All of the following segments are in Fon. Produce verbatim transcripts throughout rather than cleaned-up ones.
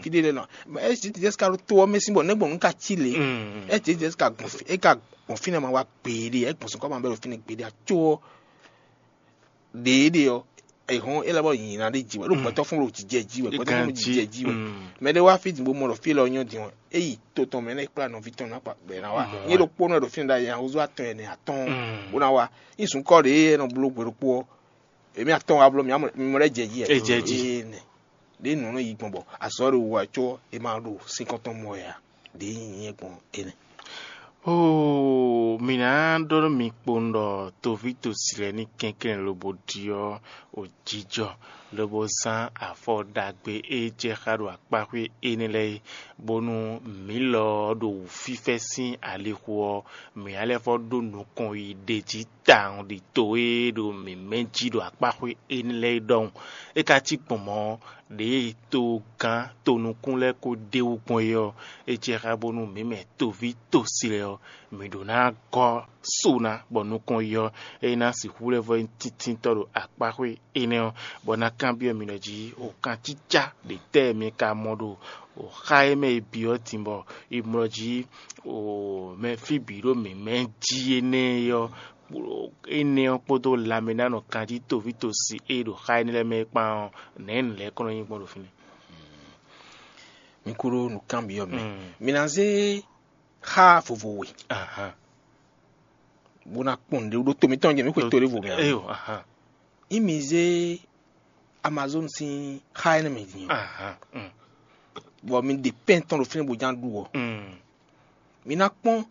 Kidi ɖe nɔ. Esi ti jesi ka ɖo to ɔ́ mɛ sín bɔ nɛgbɔn nu ka ci lě. Esi ti jesi ka gbɔn fí- e ka gbɔn fínɛ́ ma wá gbeɖé, e gbɔn sɔn kɔ ma bɛ ɖo fínɛ́ gbeɖé aco ɔ́. Ɖěeɖe ɔ́, e hɔn e lɛ́ bɔ nyina ɖé ji wɛ ɖo gbɛtɔ́ fún ɖo jijɛ ji wɛ gbɛtɔ́ fún ɖo jijɛ ji wɛ. Mɛ ɖé wá fí din bó mɔ ɖɔ fí lɔ nyɔ́ din ɔ́, e yi to tɔn mɛ nɛ kplá nɔví tɔn ná kpa bɛ ná wá. Nyɛ ɖo kpónɔ ɖo fínɛ́ ɖo ayɛ húzú atɔn ɛnɛ atɔn bó ná wá. Nyí sunkɔ ɖě e nɔ bló gbe ɖokpó ɔ́, èmi atɔn wá bló mi mɔ lɛ́ jɛ jí. Ɛ jɛ jí. Nɛ ɖě nǔ nɔ yi gbɔn bɔ azɔ̌ ɖo wú wɛ có è ma ɖo sínkɔ́ntɔn mɔ wɛ ǎ. Ɖě nyí nyɛ gbɔn énɛ́. Oo, mǐ ná ɖɔ nú mi kpowun ɖɔ toví tosi lɛ́ɛ ní kɛnklɛ́n lobo ɖyɔ́ o jijɔ, lobo zán afɔ ɖagbe e jɛ xá ɖo akpáxwé énɛ́ lɛ́ɛ é, bónú mǐ lɔ ɔ́ ɖo wǔfífɛ́ sín alixo ɔ́, mǐ ná lɛ́ vɔ́ ɖó nukɔn yi ɖ'é jí tawun ɖi to e ɖo mǐmɛ́ jí ɖo akpáxwé énɛ́ lɛ́ɛ é ɖɔhun. É ka cí gbɔn mɔ̌ ɔ́, ɖěe togán tonukún lɛ́ɛ ko ɖ'é wú gbɔn é ɔ́, é jɛ xá bónú mǐ mɛ toví tosi lɛ́ɛ ɔ́, mǐ ɖó ná gɔ́ so ná, bɔ nukɔn yi ɔ́, é ná sixú lɛ́ vɔ́ nyí tíntínntɔ́ ɖo akpáxwé énɛ́ ɔ́, bɔ ná kanbyɔ́ mi ɖɔ jí o kancícá ɖě tɛ́ mi ka mɔ ɖo o xá e mɛ e byɔ́ din bɔ è mlɔ jí o mɛ fí bǐ ɖo mǐmɛ́ jí énɛ́ é ɔ́, énɛ́ ɔ́ kpódó lanmɛnánɔ kanjí toví tosi e ɖo xá énɛ́ lɛ́ɛ mɛ é kpán ɔ́, nɛ̌ nǔ lɛ́ɛ kɔn nɔ nyí gbɔn ɖo fínɛ́? Mi kú ɖó nǔkanbyɔ́ mɛ. Mi ná zé xá vovo we, bó ná kpɔn nǔɖé ɖó to mitɔn jɛ mǐ xwe to ɖěvo mɛ ǎ. Eyo, ahan. Ényí mi zé Amazon sín xá énɛ́ mɛ din ɔ́, Ahan. Mm. Bɔ mi ɖe pɛ́n tɔn ɖo fínɛ́ bó ján ɖu ɔ́, Mm. Mi ná kpɔ́n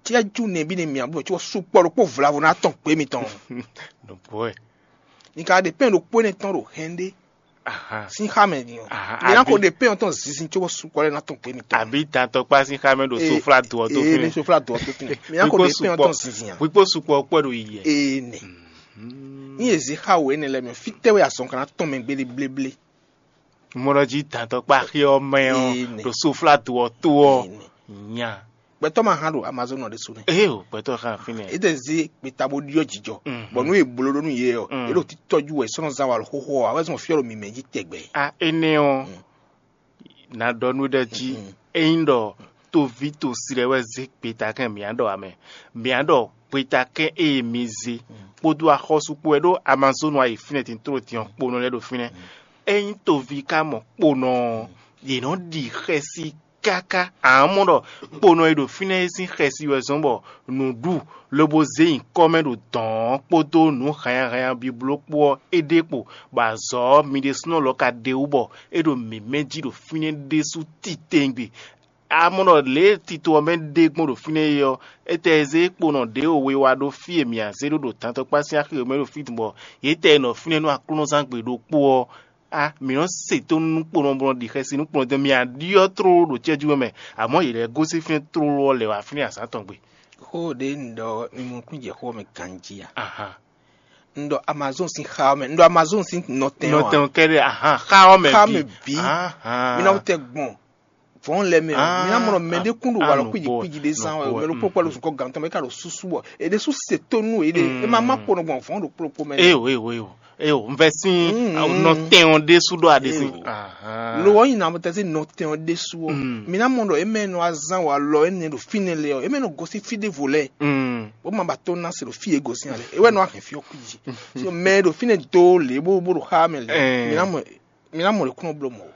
cɛ́jú nɛbí nɛ mǐ ǎ bó mɛ có sukpɔ́ ɖokpó vlavo ná tɔn gbě mitɔn. Nǔgbó wɛ. Mi ka ɖe pɛ́n ɖokpó énɛ́ tɔn ɖo hɛn ɖé Ahan. Sín xá mɛ din ɔ́. Ahan, Mi ná ko abi. Ɖe pɛ́n ɔ́ tɔn zinzin có bɔ sukpɔ́ lɛ́ɛ ná tɔn gbě mitɔn. Abi tantɔ kpá sín xá mɛ ɖo Ee, sofla do ɔ́ tó ee, fínɛ́. Ne sofla do ɔ́ tó fínɛ́. Mi ná ko Wíkpó ɖe pɛ́n ɔ́ sukpɔ. Tɔn zinzin ǎ. Wíkpó sukpɔ kpɔ́ ɖo yi yɛ. Ee nɛ. Ní èzí xá wǒ énɛ́ lɛ́ɛ mɛ, fítɛ́ wɛ azɔn ka ná tɔn mɛ gbéɖé bléblé? Mɔ ɖɔ jí dantɔkpá xyɔ mɛ ɔ́ Ee, nɛ. Ɖo soflado ɔ́ tó ɔ́ Ee, nɛ. Nya. Gbɛtɔ́ ma hán ɖo Amazon ɔ́ ɖésú nɛ. Ee o, gbɛtɔ́ xá fínɛ́. É tɛ zé gbeta bó ɖyɔ́ jijɔ. Mhm. Bɔ nú è bló ɖó nú yě ɔ́, Mm. é ɖo títɔ́jú wɛ sɔ́ nɔ zán wa xóxó ɔ́, awɛ́ zɔn fyɔ́ ɖo mǐmɛ́ jí tɛgbɛ. A énɛ́ ɔ́, Mm. Na ɖɔ nú ɖɔ jí, Mm. Ényí ɖɔ toví tosi lɛ́ɛ wɛ zé gbetakɛ́n mǐa ɖɔ ǎ mɛ, mǐa ɖɔ gbetakɛ́n e mi zé kpódó axɔ́sú kpó wɛ ɖó Amazonu ayi fínɛ́ din tló din ɔ́ kponɔ lɛ́ɛ ɖo fínɛ́. Ényí toví ka mɔ kponɔ ɔ́, yě nɔ ɖi xɛsi káká. Amɔ̌ ɖɔ kponɔ e ɖo fínɛ́ é sín xɛsi wɛ zɔ́n bɔ nǔɖu lobo zé nyǐkɔ mɛ ɖo dɔ̌n ɔ́ kpódó nǔ hannyahannya bibló kpó ɔ́, é ɖe kpo, bɔ azɔ̌ ɔ́, mi ɖésúnɔ lɔ ka ɖe wú bɔ é ɖo mǐmɛ́ jí ɖo fínɛ́ ɖésú titewungbe. Amɔ̌ ɖɔ lě e tito ɔ́ mɛ ɖe gbɔn ɖo fínɛ́ é ɔ́, étɛ́ e zé kponɔ ɖěvo we wá ɖó fí e mǐ a zé ɖó ɖo dantɔkpá sín axi e mɛ ɖo fí din bɔ yě tɛ nɔ fínɛ́ nú aklúnɔzángbe ɖokpó ɔ́, a mǐ nɔ́ se tónú nú kponɔ bó nɔ́ ɖi xɛsi nú kponɔ din, mǐ a ɖyɔ́ tlóló ɖo cɛ́jú mɛ, amɔ̌ yě lɛ́ gosín fínɛ́ tlóló ɔ́ lɛ̌ wá fínɛ́ azǎn tɔn gbe. Xó ɖě un ɖɔ mi mɔ kún jɛ xó ɔ́ mɛ ganjí a? Ahan. Un ɖɔ Amazon sín xá ɔ́ mɛ, un ɖɔ Amazon sín nɔtɛn ɔ́ a? Nɔtɛn ɔ́ kɛ́ɖɛ́, ahan, xá ɔ́ mɛ Xá bǐ. Mɛ bǐ. Ahan. Mi ná wú tɛ gbɔn vɔ̌n lɛ́ɛ mɛ o. Ah, Mi ná mɔ ɖɔ mɛɖé kún ɖo ah, walɔ nukpó, kwíji kwíji ɖé zán wɛ o. Nukpó, Mɛ ɖokpó kpɔ́ ɖo mm. Zukɔ gǎn tɔn mɛ é ka ɖo súsú bɔ è ɖésú se tónú yě ɖe. É má má Mm. kponɔ gbɔn vɔ̌n ɖokpó ɖokpó mɛ. Eyo, eyo, eyo. Eyo, un vɛ sín Mm. nɔtɛn ɔ́ ɖésú ɖɔ aɖe sín. Eyo. Ahan. Lo ɔ́ nyi na tɛ́sí nɔtɛn ɔ́ ɖésú ɔ́. Mm. Mi ná mɔ ɖɔ é mɛ nɔ azán walɔ énɛ́ ɖo fínɛ́ lɛ ɔ́, é mɛ nɔ gosín fí ɖěvo lɛ́ɛ. Mm. Bó ma ba tó ná se ɖo fí e gosín ǎ lɛ. É wɛ nɔ ahɛn fí ɔ́ kwíji. So mɛ e ɖo fínɛ́ dó lě bó bó ɖo xá mɛ lě. Eh. Mi ná mɔ mi ná mɔ lě kún nɔ bló mɔ o.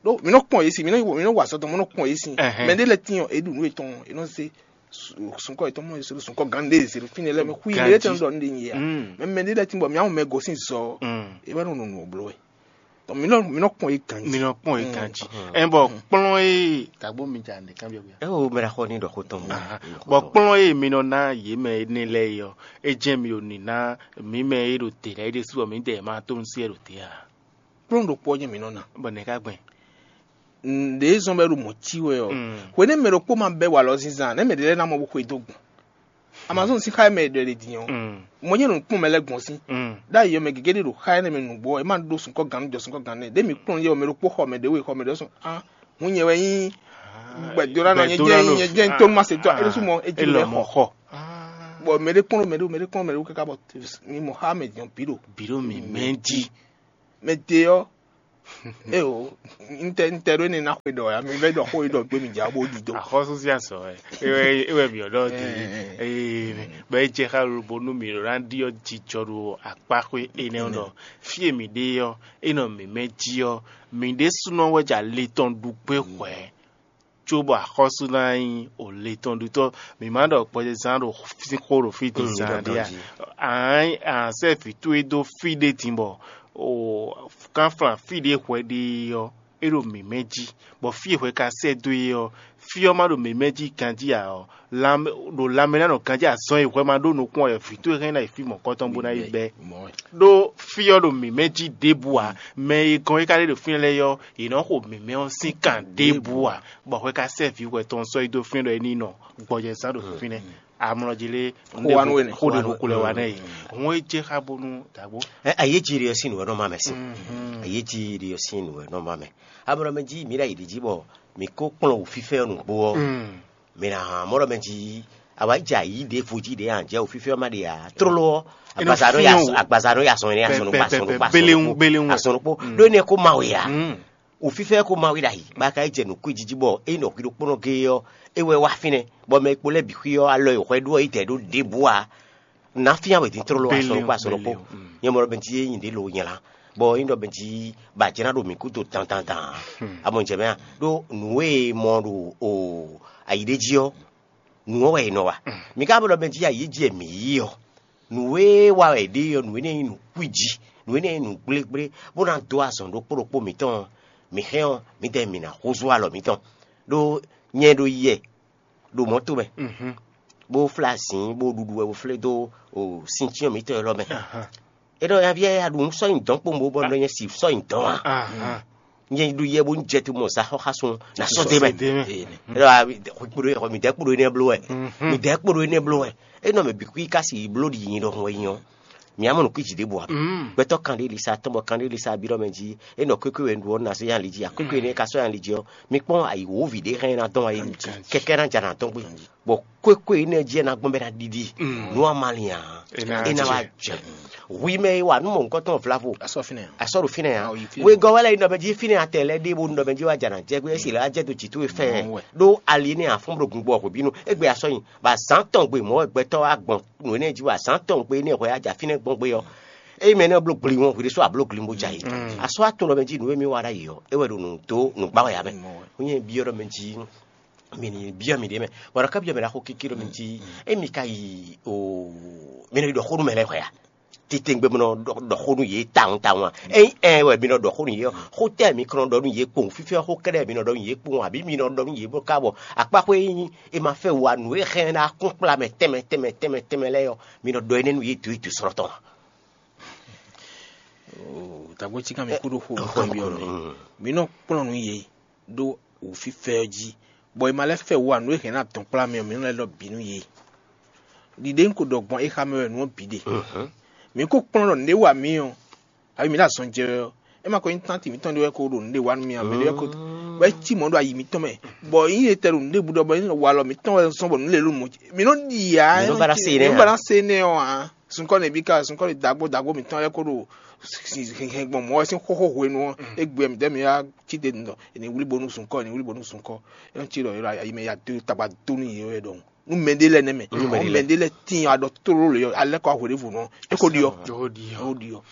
Ɖó mi nɔ kpɔn yě si, mi nɔ mi nɔ wa azɔ̌ tɔn, mi nɔ kpɔn yě si. Ɛhɛn. Mɛ ɖé lɛ́ɛ tín ɔ́, é ɖu nǔ yětɔn, é nɔ zé sunkɔ yětɔn mɔ yě se ɖo sunkɔ gán ɖé zé ɖo fínɛ́ lɛ́ɛ mɛ xwí Ganjí. Mɛ ɖé tɛn ɖɔ nɖé nyi yě a. Mm. Mɛ mɛ ɖé lɛ́ɛ tín bɔ mi ná mɔ mɛ gosín zɔ ɔ́, Mm. é wɛ nɔ nɔ nǔ ɔ́ bló wɛ. Donc mi nɔ mi nɔ kpɔn yě ganjí. Mi nɔ kpɔn yě Mm. ganjí. Ɛn bɔ kplɔn e tagbo mi dza ne kan bia. Eo mera xɔ ni ɖɔ xo tɔn. Aha. Bɔ kplɔn e mi nɔ ná yě mɛ énɛ́ lɛ́ɛ é ɔ́, é jɛ́n mi ò ní ná mǐ mɛ e ɖo te lɛ́ɛ é ɖésú ɔ́, mǐdɛɛ ma tó nú sí ɛ ɖo te a? Kplɔ́n ɖokpó ɔ́ nyí mǐ nɔ ná. Bɔ nɛ̌ ká gbɛn? Ɖě zɔn bɔ é ɖo mɔ̌ cí wɛ ɔ́, Mm. hwenɛ́ mɛ ɖokpó ma bɛ́ walɔ zínzán nɛ̌ mɛ ɖě lɛ́ɛ ná mɔ bó xwedó gbɔn? Amazon sín xá e mɛ è ɖɔ è ɖe din ɔ́, Mm. mɔ nyɛ ɖo kpɔ́n mɛ lɛ́ɛ gbɔn sín. Mm. Ɖ'ayǐ ɔ́, mɛ gěgé ɖé ɖo xá énɛ́ mɛ nǔgbó ɔ́, é má ɖó sunkɔ́ gannú jɔ sunkɔ́ gannú nɛ́. Ɖěe mǐ kplɔ́n yɛ ɔ́, mɛ ɖokpó xɔ mɛ ɖěwe xɔ mɛ ɖé sɔ́. Á, hǔn nyɛ wɛ nyí gbɛdónánɔ, nyɛ jɛ́n nyí nyɛ jɛ́n nyí tónúmásɛtɔ́, é ɖésú mɔ é jí lɛ́ xɔ. Bɔ mɛ ɖé kplɔ́n mɛ ɖé mɛ ɖé kplɔ́n mɛ ɖé káká bɔ mi mɔ xá mɛ din ɔ́ bǐ ɖo Bǐ ɖo mǐ mɛ jí. Mɛ de ɔ́, Eo, n tɛ n tɛ ɖó énɛ́ ná xwe ɖɔ ya, mi vɛ́ ɖɔ xó e ɖɔ gbé mi jǎ bó ɖi dó. Axɔ́sú sín azɔ̌ wɛ é wɛ é wɛ mǐ ɔ́ ɖɔ dé. Ee, bɔ é jɛ xá lobo nú mǐ ɖó ná ɖiɔ jijɔ ɖo akpáxwé énɛ́ ɔ́ ɖɔ fí e mǐ ɖe ɔ́, é nɔ mǐmɛ́ jí ɔ́, mǐ ɖésúnɔ wɛ jɛ ali tɔn ɖu gbé hwɛ̌, cóbɔ axɔ́sú ná nyí o le tɔn ɖutɔ́. Mǐ ma ɖɔ gbɔjɛzán ɖo sín xó ɖo fí din zán ɖé a? Ǎ, sɛ́ vǐ towe dó fí ɖé din bɔ o kánflán fí ɖé hwɛ ɖe ɔ́, é ɖo mǐmɛ́ jí, bɔ fí e hwɛ ka sɛ́ dó é ɔ́, fí ɔ́ ma ɖo mǐmɛ́ jí ganjí ǎ ɔ́, lanmɛ ɖo lanmɛ ná nɔ ganjí azɔn e hwɛ ma ɖó nukún ɔ́ wɛ vǐ towe hɛn ná yi fí mɔ̌kɔtɔn bó ná yi bɛ́. Ɖó fí ɔ́ ɖo mǐmɛ́ jí ɖěbǔ ǎ. Mɛ e gɔn é ka ɖe ɖo fínɛ́ lɛ́ɛ ɔ́, yě nɔ xo mǐmɛ́ ɔ́ sín kan ɖěbǔ ǎ, bɔ hwɛ ka sɛ́ vǐ hwɛ tɔn sɔ́ yi dó fínɛ́ ɖɔ é ní nɔ gbɔjɛzán ɖo fínɛ́. Amlɔ jí lé xó wa nú we nɛ. Xó ɖe xó lɛ wa nɛ yi. Hɔn é jɛ xá bónú dàgbó. Ayéjiri ɔ́ sín nǔ wɛ nɔ ma mɛ se. Ayéjiri ɔ́ sín nǔ wɛ nɔ ma mɛ. Amlɔ mɛ jí mǐ ɖo ayǐ ɖi jí bɔ mǐ kó kplɔ́n wǔfífɛ́ ɔ́ nǔgbó ɔ́, mǐ ná hán mɔ̌ ɖɔ mɛ jí awǎjǎ yí ɖěvo jí ɖě anjɛ wǔfífɛ́ ɔ́ má ɖe ǎ. Tlóló ɔ́, agbaza nɔ ya agbaza nɔ ya sɔn énɛ́ asɔn nukpó asɔn nukpó asɔn nukpó asɔn nukpó ɖó énɛ́ kó ma wɛ ǎ. Wǔfífɛ́ kó ma wí ɖ'ayǐ báká é jɛ nǔkún jí jí bɔ é nɔ hwi ɖokpónɔ géé ɔ́, é wɛ wá fínɛ́, bɔ mɛ e kpo lɛ́ɛ bǐ xwí ɔ́, alɔ e hwɛ ɖó ɔ́ yi dɛ̌ ɖó ɖěbǔ ǎ. Nǎ fínnyá wɛ din tlóló asɔn ɖokpó asɔn ɖokpó. Nyɛ mɔ ɖɔ bɛn jí é nyi ɖě lo nyɛ lá, bɔ é nyí ɖɔ bɛn jí ba jlá ɖo mǐ kúdo dandandan ǎ. A mɔ jɛ mɛ a? Ɖó nǔ e mɔ ɖo o ayi ɖé jí ɔ́, nǔ ɔ́ wɛ è nɔ wa. Mǐ ka mɔ ɖɔ bɛn jí ayi jí e mǐ yí ɔ́, nǔ e wa wɛ è ɖe ɔ́, nǔ énɛ́ nyí nǔ kwíji, nǔ énɛ́ nyí nǔ gblégblé, bó ná dó azɔn ɖokpó ɖokpó mǐtɔn ɔ́, mǐ hɛn ɔ́, mǐdɛɛ mǐ ná húzú alɔ mǐtɔn. Ɖó nyɛ ɖo yɛ ɖo mɔ̌ tomɛ, bó flá azǐn, bó ɖuɖu wɛ, bó flé dó sincyɔ́n mǐtɔn élɔ́ mɛ. É ɖɔ nyaví ya ɖu nǔ sɔ́ nyi dɔ̌n kpowun bó bɔ nɔ nyɛ si sɔ́ nyi dɔ̌n ǎ. Nyɛ ɖu yɛ bó jɛ te mɔ sa xɔ xá sun na sɔ́ dé mɛ. É ɖɔ midɛɛ kpo ɖo énɛ́ bló wɛ. Midɛɛ kpo ɖo énɛ́ bló wɛ. É nɔ mɛ bǐ kú yi ka si bló ɖi nyi ɖɔhun wɛ nyi ɔ́. Mǐ mɔ nǔ kwíji ɖěbǔ ǎ. Gbɛtɔ́ kanɖélisa tɔn bɔ kanɖélisa bí ɖɔ mɛ jí é nɔ kwékwe wɛ un ɖu ɔ́, un ná sɔ́ nyi ali jí. Akwékwe énɛ́ ka sɔ́ nyi ali jí ɔ́, mi kpɔ́n ayǐwǒvi ɖě hɛn ná dɔn wá yé kɛkɛ ná ja ná dɔn gbé. Bɔ kwékwe énɛ́ jí ɛ ná gbɔn bɛ ná ɖiɖi nú amalin ǎ. É ná wá jɛ. Hwi mɛ e wa nú mɔ nukɔntɔn vlavo. Asɔ ɖo fínɛ́ ǎ. Wegɔ́ wɛ lɛ yi nɔ mɛ jí fínɛ́ atɛ lɛ́ɛ ɖé bónú nɔ mɛ jí wá ja ná jɛ gbé, é si lɛ́ wá jɛ dó jǐ towe fɛ́ɛ. Ɖó ali énɛ́ afɔ́n ɖo gun gbɔ hwebínu. Égbé asɔ nyi, bɔ azǎn tɔn gbe mɔ̌ wɛ gbɛtɔ́ wá gbɔn nǔ énɛ́ jí wɛ azǎn tɔn gbe énɛ́ hwɛ á ja fínɛ́ gbɔn gbé ɔ́. Ényí mɛ énɛ́ bló gli wọn, hwi ɖésú a bló gli bó ja yě. Asɔ atɔn lɔ mɛ jí nǔ e mì wa ɖ'ayǐ ɔ́, é wɛ ɖo nǔ dó nǔgbá wɛ ǎ mɛ. Hú nyɛ byɔ́ ɖɔ mɛ jí mi ní byɔ́ mi ɖě mɛ, bɔ ɖɔ ká byɔ́ mɛ ɖaxó kéké ɖɔ mɛ jí émi ka yi o mi nɔ yi ɖɔ xó nú mɛ lɛ́ɛ hwɛ a? Titewungbe mi nɔ ɖɔ xó nú yě tawun tawun a? Ényí ɛ wɛ mi nɔ ɖɔ xó nú yě ɔ́, xó tɛ́ mi kɔn nɔ ɖɔ nú yě kpowun? Fífɛ́ xó kɛ́ɖɛ́ mi nɔ ɖɔ nú yě kpowun, abǐ mi nɔ ɖɔ nú yě bó ká bɔ akpáxwé e nyí è ma fɛ wa nǔ e hɛn ná kún kplá mɛ tɛnmɛ tɛnmɛ tɛnmɛ tɛnmɛ lɛ́ɛ ɔ́, mi nɔ ɖɔ énɛ́ nú yě dǒ yi dǒ slɔ́ tɔn a? Dǎgbó cí kan mi kú ɖo xo nukɔn byɔ́ mɛ. Mi nɔ kplɔ́n nú yě ɖó wǔfífɛ́ ɔ́ jí, bɔ è ma lɛ́ fɛ wa nǔ e hɛn ná dɔn kplá mɛ ɔ́, mi nɔ lɛ́ ɖɔ bǐ nú yě. Ɖiɖe un ko ɖɔ gbɔn é xa mɛ wɛ nǔ ɔ́ bǐ ɖe. Mi ko kplɔ́n ɖɔ nǔɖé wa mǐ ɔ́, abǐ mǐ ɖo azɔn jɛ wɛ ɔ́, é ma ko nyí tánti mǐtɔn ɖé wɛ ko ɖo nǔɖé wa nú mì ǎ, mɛ ɖé wɛ ko wɛ cí mɔ̌ ɖo ayi mǐtɔn mɛ, bɔ nyí etɛ ɖo nǔɖé bǔ ɖɔ bɔ nyí walɔ mǐtɔn wɛ zɔ́n bɔ nǔ lě ɖo mɔ̌ jí. Mǐ nɔ ɖi ǎ. Mǐ nɔ ba ná se énɛ́ ǎ. Mǐ nɔ ba ná se énɛ́ ɔ́ ǎ. Sunkɔ́ nɛbí ka sunkɔ́ ɖi dǎgbó dǎgbó mǐtɔn wɛ ko ɖo hɛn gbɔn mɔ̌ wɛ sín xóxó hwenu ɔ́, égbé mǐdɛɛ mǐ wá cí te ɖɔ è nǐ wlí bónú sunkɔ́, è nǐ wlí bónú sunkɔ́. É nɔ cí ɖɔ ayi mɛ ya dó tagba dó nú yě wɛ ɖɔhun. Nú mɛɖé lɛ́ɛ nɛ́ mɛ, nú mɛɖé lɛ́ɛ tíin aɖɔ tlóló lě ɔ́, alɛ́ kɔ hwěɖěvɔ́ nɔ é ko ɖi ɔ́. Ó ɖi ɔ́. Ó ɖi ɔ́.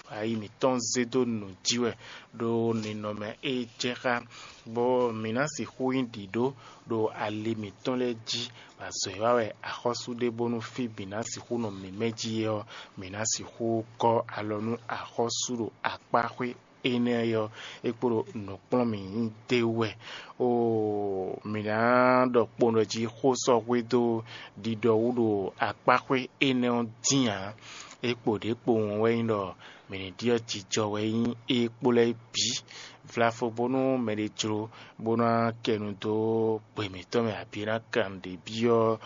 Ayi mǐtɔn zé dó nǔ jí wɛ ɖó ninɔmɛ e jɛ xá, bɔ mǐ ná sixú nyí ɖǐɖó ɖo ali mǐtɔn lɛ́ɛ jí, bɔ azɔ̌ e wa wɛ axɔ́sú ɖe bónú fí bǐ ná sixú nɔ mǐmɛ́ jí é ɔ́, mǐ ná sixú gɔ́ alɔ nú axɔ́sú ɖo akpáxwé énɛ́ ɔ́, é kpo ɖo nǔkplɔ́n mǐ nyí d'é wú wɛ. Oo, mǐ ná ɖɔ kpowun ɖɔ jí xó sɔ́ hwedó ɖiɖɔ wú ɖo akpáxwé énɛ́ ɔ́ dín ǎ. É kpo ɖě kpowun wɛ nyí ɖɔ mǐ ní ɖyɔ́ jijɔ wɛ nyí é kpo lɛ́ɛ bǐ. Vlafo bónú mɛɖé jló bó ná kɛ nu dó gbe mǐtɔn mɛ abǐ ná kan nǔɖé byɔ́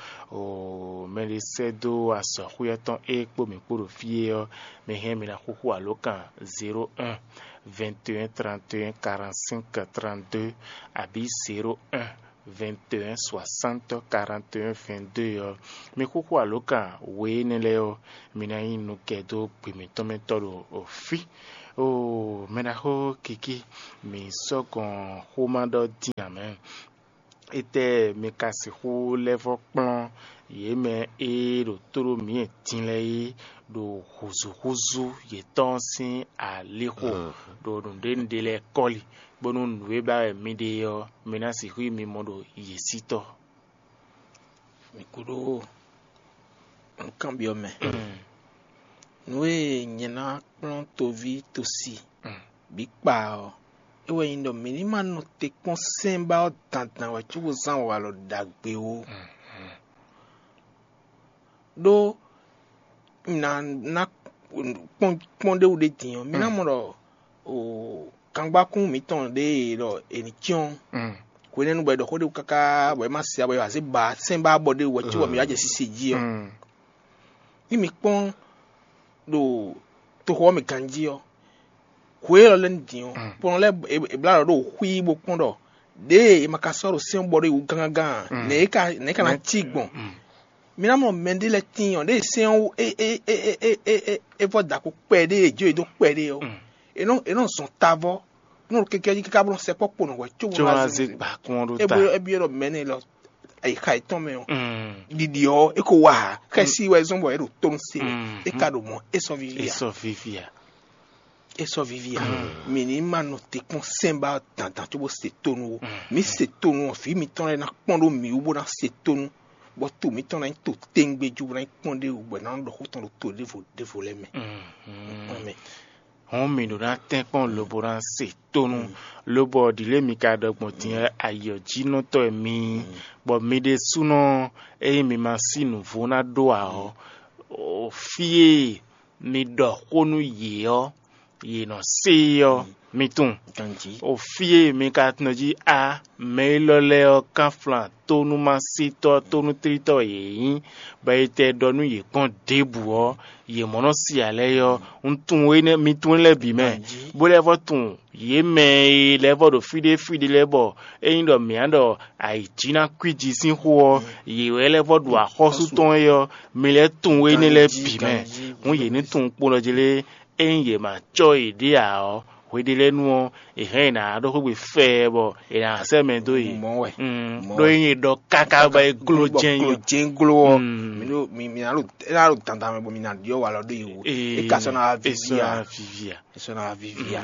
mɛɖé sɛ́ dó azɔ̌xwé ɔ́ tɔn é kpó mǐ kpó ɖo fí é ɔ́, mi hɛn mi ná xúxú alǒkan zéro un, vingt et un, trente et un, quarante-cinq, trente-deux, abǐ zéro un, vingt et un, soixante, quarante et un, vingt-deux ɔ́. Mi xúxú alǒkan we énɛ́ lɛ́ɛ ɔ́, mi ná nyí nukɛ dó gbe mǐtɔn mɛ tɔ́ ɖo fí. Oo, mɛɖaxó Kiki, mǐ sɔ́ gɔn xó ma ɖɔ dín ǎ mɛ. Étɛ́ mi ka sixú lɛ́ vɔ́ kplɔ́n yě mɛ e ɖo tó ɖó mǐ din lɛ́ɛ é ɖo hǔzúhúzú yětɔn sín alixo ɖo nǔɖénúɖé lɛ́ɛ kɔ́li, bónú nǔ e ba wɛ mi ɖe ɔ́, mi ná sixú yi mimɔ ɖo yě sí tɔ́. Mi kúɖó nǔkanbyɔ́ mɛ. Nǔ e nyɛ ná kplɔ́n toví tosi bǐ kpa ɔ́, é wɛ nyí ɖɔ mǐ ní ma nɔ te kpɔ́n sɛ́n ba ɔ́ dandan wɛ cóbó zán walɔ ɖagbe ó. Ɖó ná ná kpɔ́n kpɔ́n ɖé wú ɖé din ɔ́, mǐ ná mɔ ɖɔ o kangbákún mǐtɔn ɖé e ɖɔ è nǐ cyɔ́n hwenɛ́nu bɔ è ɖɔ xó ɖé wú káká bɔ é ma se ǎ bɔ è wǎ zé ba sɛ́n ba bɔ ɖé wú wɛ cóbɔ mǐ wá jɛ sise jí ɔ́. Ní mi kpɔ́n ɖo toxo ɔ́ mɛ ganjí ɔ́, hwe élɔ́ lɛ́ɛ ní din ɔ́, kplɔn lɛ́ɛ è blá ɖɔ ɖo xwí bó kpɔ́n ɖɔ ɖěe è ma ka sɔ́ ɖo sɛ́n bɔ ɖó yi wú gángán ǎ, nɛ̌ é ka nɛ̌ é ka ná cí gbɔn? Mi ná mɔ mɛɖé lɛ́ɛ tíin ɔ́, ɖěe sɛ́n ɔ́ é é é é é é é vɔ́ da kpo kpɛɖé e jó yě dó kpɛɖé ɔ́, è nɔ è nɔ zɔn tavɔ nú kɛkɛ́ jí káká bó nɔ sɛkpɔ́ kpo nɔ hwɛ có bó ná zé gbǎkún ɔ́ ɖó ta. Ébyɔ́ ɖɔ mɛ̌ nɛ lɔ ayixa yětɔn mɛ ɔ́, ɖiɖi ɔ́ é ko wa ǎ. Xɛsi wɛ zɔ́n bɔ é ɖo tónú se wɛ. É ka ɖo mɔ̌ é sɔ́ víví ǎ. Sɔ́ víví ǎ. É sɔ́ víví ǎ. Mǐ ní ma nɔ te kpɔ́n sɛ́n ba dandan cóbó se tónú ó. Mǐ se tónú ɔ́, vǐ mitɔn lɛ́ɛ ná kpɔ́n ɖó mǐ wú bó ná se tónú, bɔ to mǐtɔn ná nyí to téŋgbé jí bó ná nyí kpɔ́n ɖé wú bɔ è nǎ nɔ ɖɔ xó tɔn ɖo to ɖěvo ɖěvo lɛ́ɛ mɛ. Hɔn mǐ ɖó ná tɛ́nkpɔ́n lobo ná se tónú, lobɔ ɖǐlé mi ka ɖɔ gbɔn din ɔ́, ayǐ ɔ́ jínɔtɔ́ wɛ mi nyí, bɔ mi ɖésúnɔ ényí mi ma sí nǔvó ná ɖó ǎ ɔ́, fí e mi ɖɔ xó nú yě ɔ́, yě nɔ se é ɔ́, mi tunwun. O fí e mi ka nɔ jí á, mɛ élɔ́ lɛ́ɛ ɔ́, kánflán tónúmásítɔ́ tónútlítɔ́ wɛ yě nyí, bɔ è tɛ ɖɔ nú yě kpɔ́n ɖěbǔ ɔ́, yě mɔ nɔ si ǎ lɛ́ɛ ɔ́, un tunwun énɛ́ mi tunwun énɛ́ lɛ́ɛ bǐ mɛ, bó lɛ́ vɔ́ tunwun yě mɛ e lɛ́ vɔ́ ɖo fí ɖé fí ɖé lɛ́ɛ bɔ ényí ɖɔ mǐ á ɖɔ ayǐjínakúiji sín xó ɔ́, yě wɛ lɛ́ vɔ́ ɖu axɔ́sú tɔn é ɔ́, mi lɛ́ tunwun énɛ́ lɛ́ɛ bǐ mɛ. Hǔn yě ní tunwun kpo ɖɔ jí lé, ényí yě ma cɔ́ yěɖée ǎ ɔ́, hweɖélɛ́nu ɔ́, è hɛn è nǎ ɖó xwé gbe fɛɛ bɔ è nǎ sɛ́ mɛ dó yě. Mɔ̌ wɛ. Ɖó ényí è ɖɔ káká bɔ é gló jɛ́n nyí. Jɛ́n gló ɔ́, mi ɖo mi mi ná ɖo é ná ɖo dandan mɛ bɔ mi ná ɖyɔ́ walɔ ɖó yě wú. É ka sɔ́ ná wá víví ǎ. Víví ǎ. É sɔ́ ná wá víví ǎ.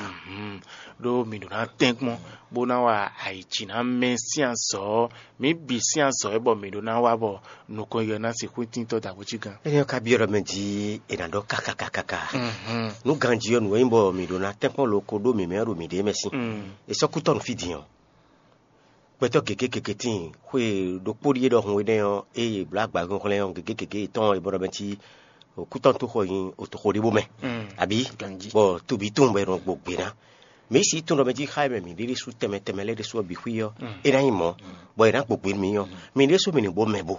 Ɖó mi ɖo ná tɛ́nkpɔ́n bó ná wa ayǐjǐ ná mɛ sín azɔ̌ ɔ́, mǐ bǐ sín azɔ̌ é bɔ mǐ ɖó ná wa bɔ nukɔn yɔ ná sixú tíntɔ́ dǎgbócí gán. Énɛ́ ɔ́ ka byɔ́ ɖɔ mɛ jí è nǎ ɖɔ káká káká ká. Nú ganjí ɔ́, nǔ e nyí bɔ mǐ ɖó ná tɛ́nkpɔ́n lo ko ɖó mǐmɛ́ ɔ́ ɖo mǐɖée mɛ sín. È sɔ́ kú tɔ́ nú fí din ɔ́. Gbɛtɔ́ gěgé gěgé tíin, xwe ɖokpó ɖíe ɖɔhun énɛ́ ɔ́, ée è blǒ agba hɔnhlɛ́n ɔ́, gěgé gěgé yětɔn ɔ́, è bɔ ɖɔ mɛ cí kútɔ́nútoxo nyi òtoxo ɖé bó mɛ, abǐ? Bɔ to bǐ tunwun bɔ è nɔ gbo gbě ná. Mǐ sixú tunwun ɖɔ mɛ jí xá e mɛ mǐ ɖe ɖésú tɛnmɛ tɛnmɛ lɛ́ɛ ɖésú ɔ́ bǐ xwí ɔ́, é ná nyí mɔ̌, bɔ è nǎ gbo gbě nú mǐ ɔ́, mǐ ɖésú mǐ ní bó mɛ bo.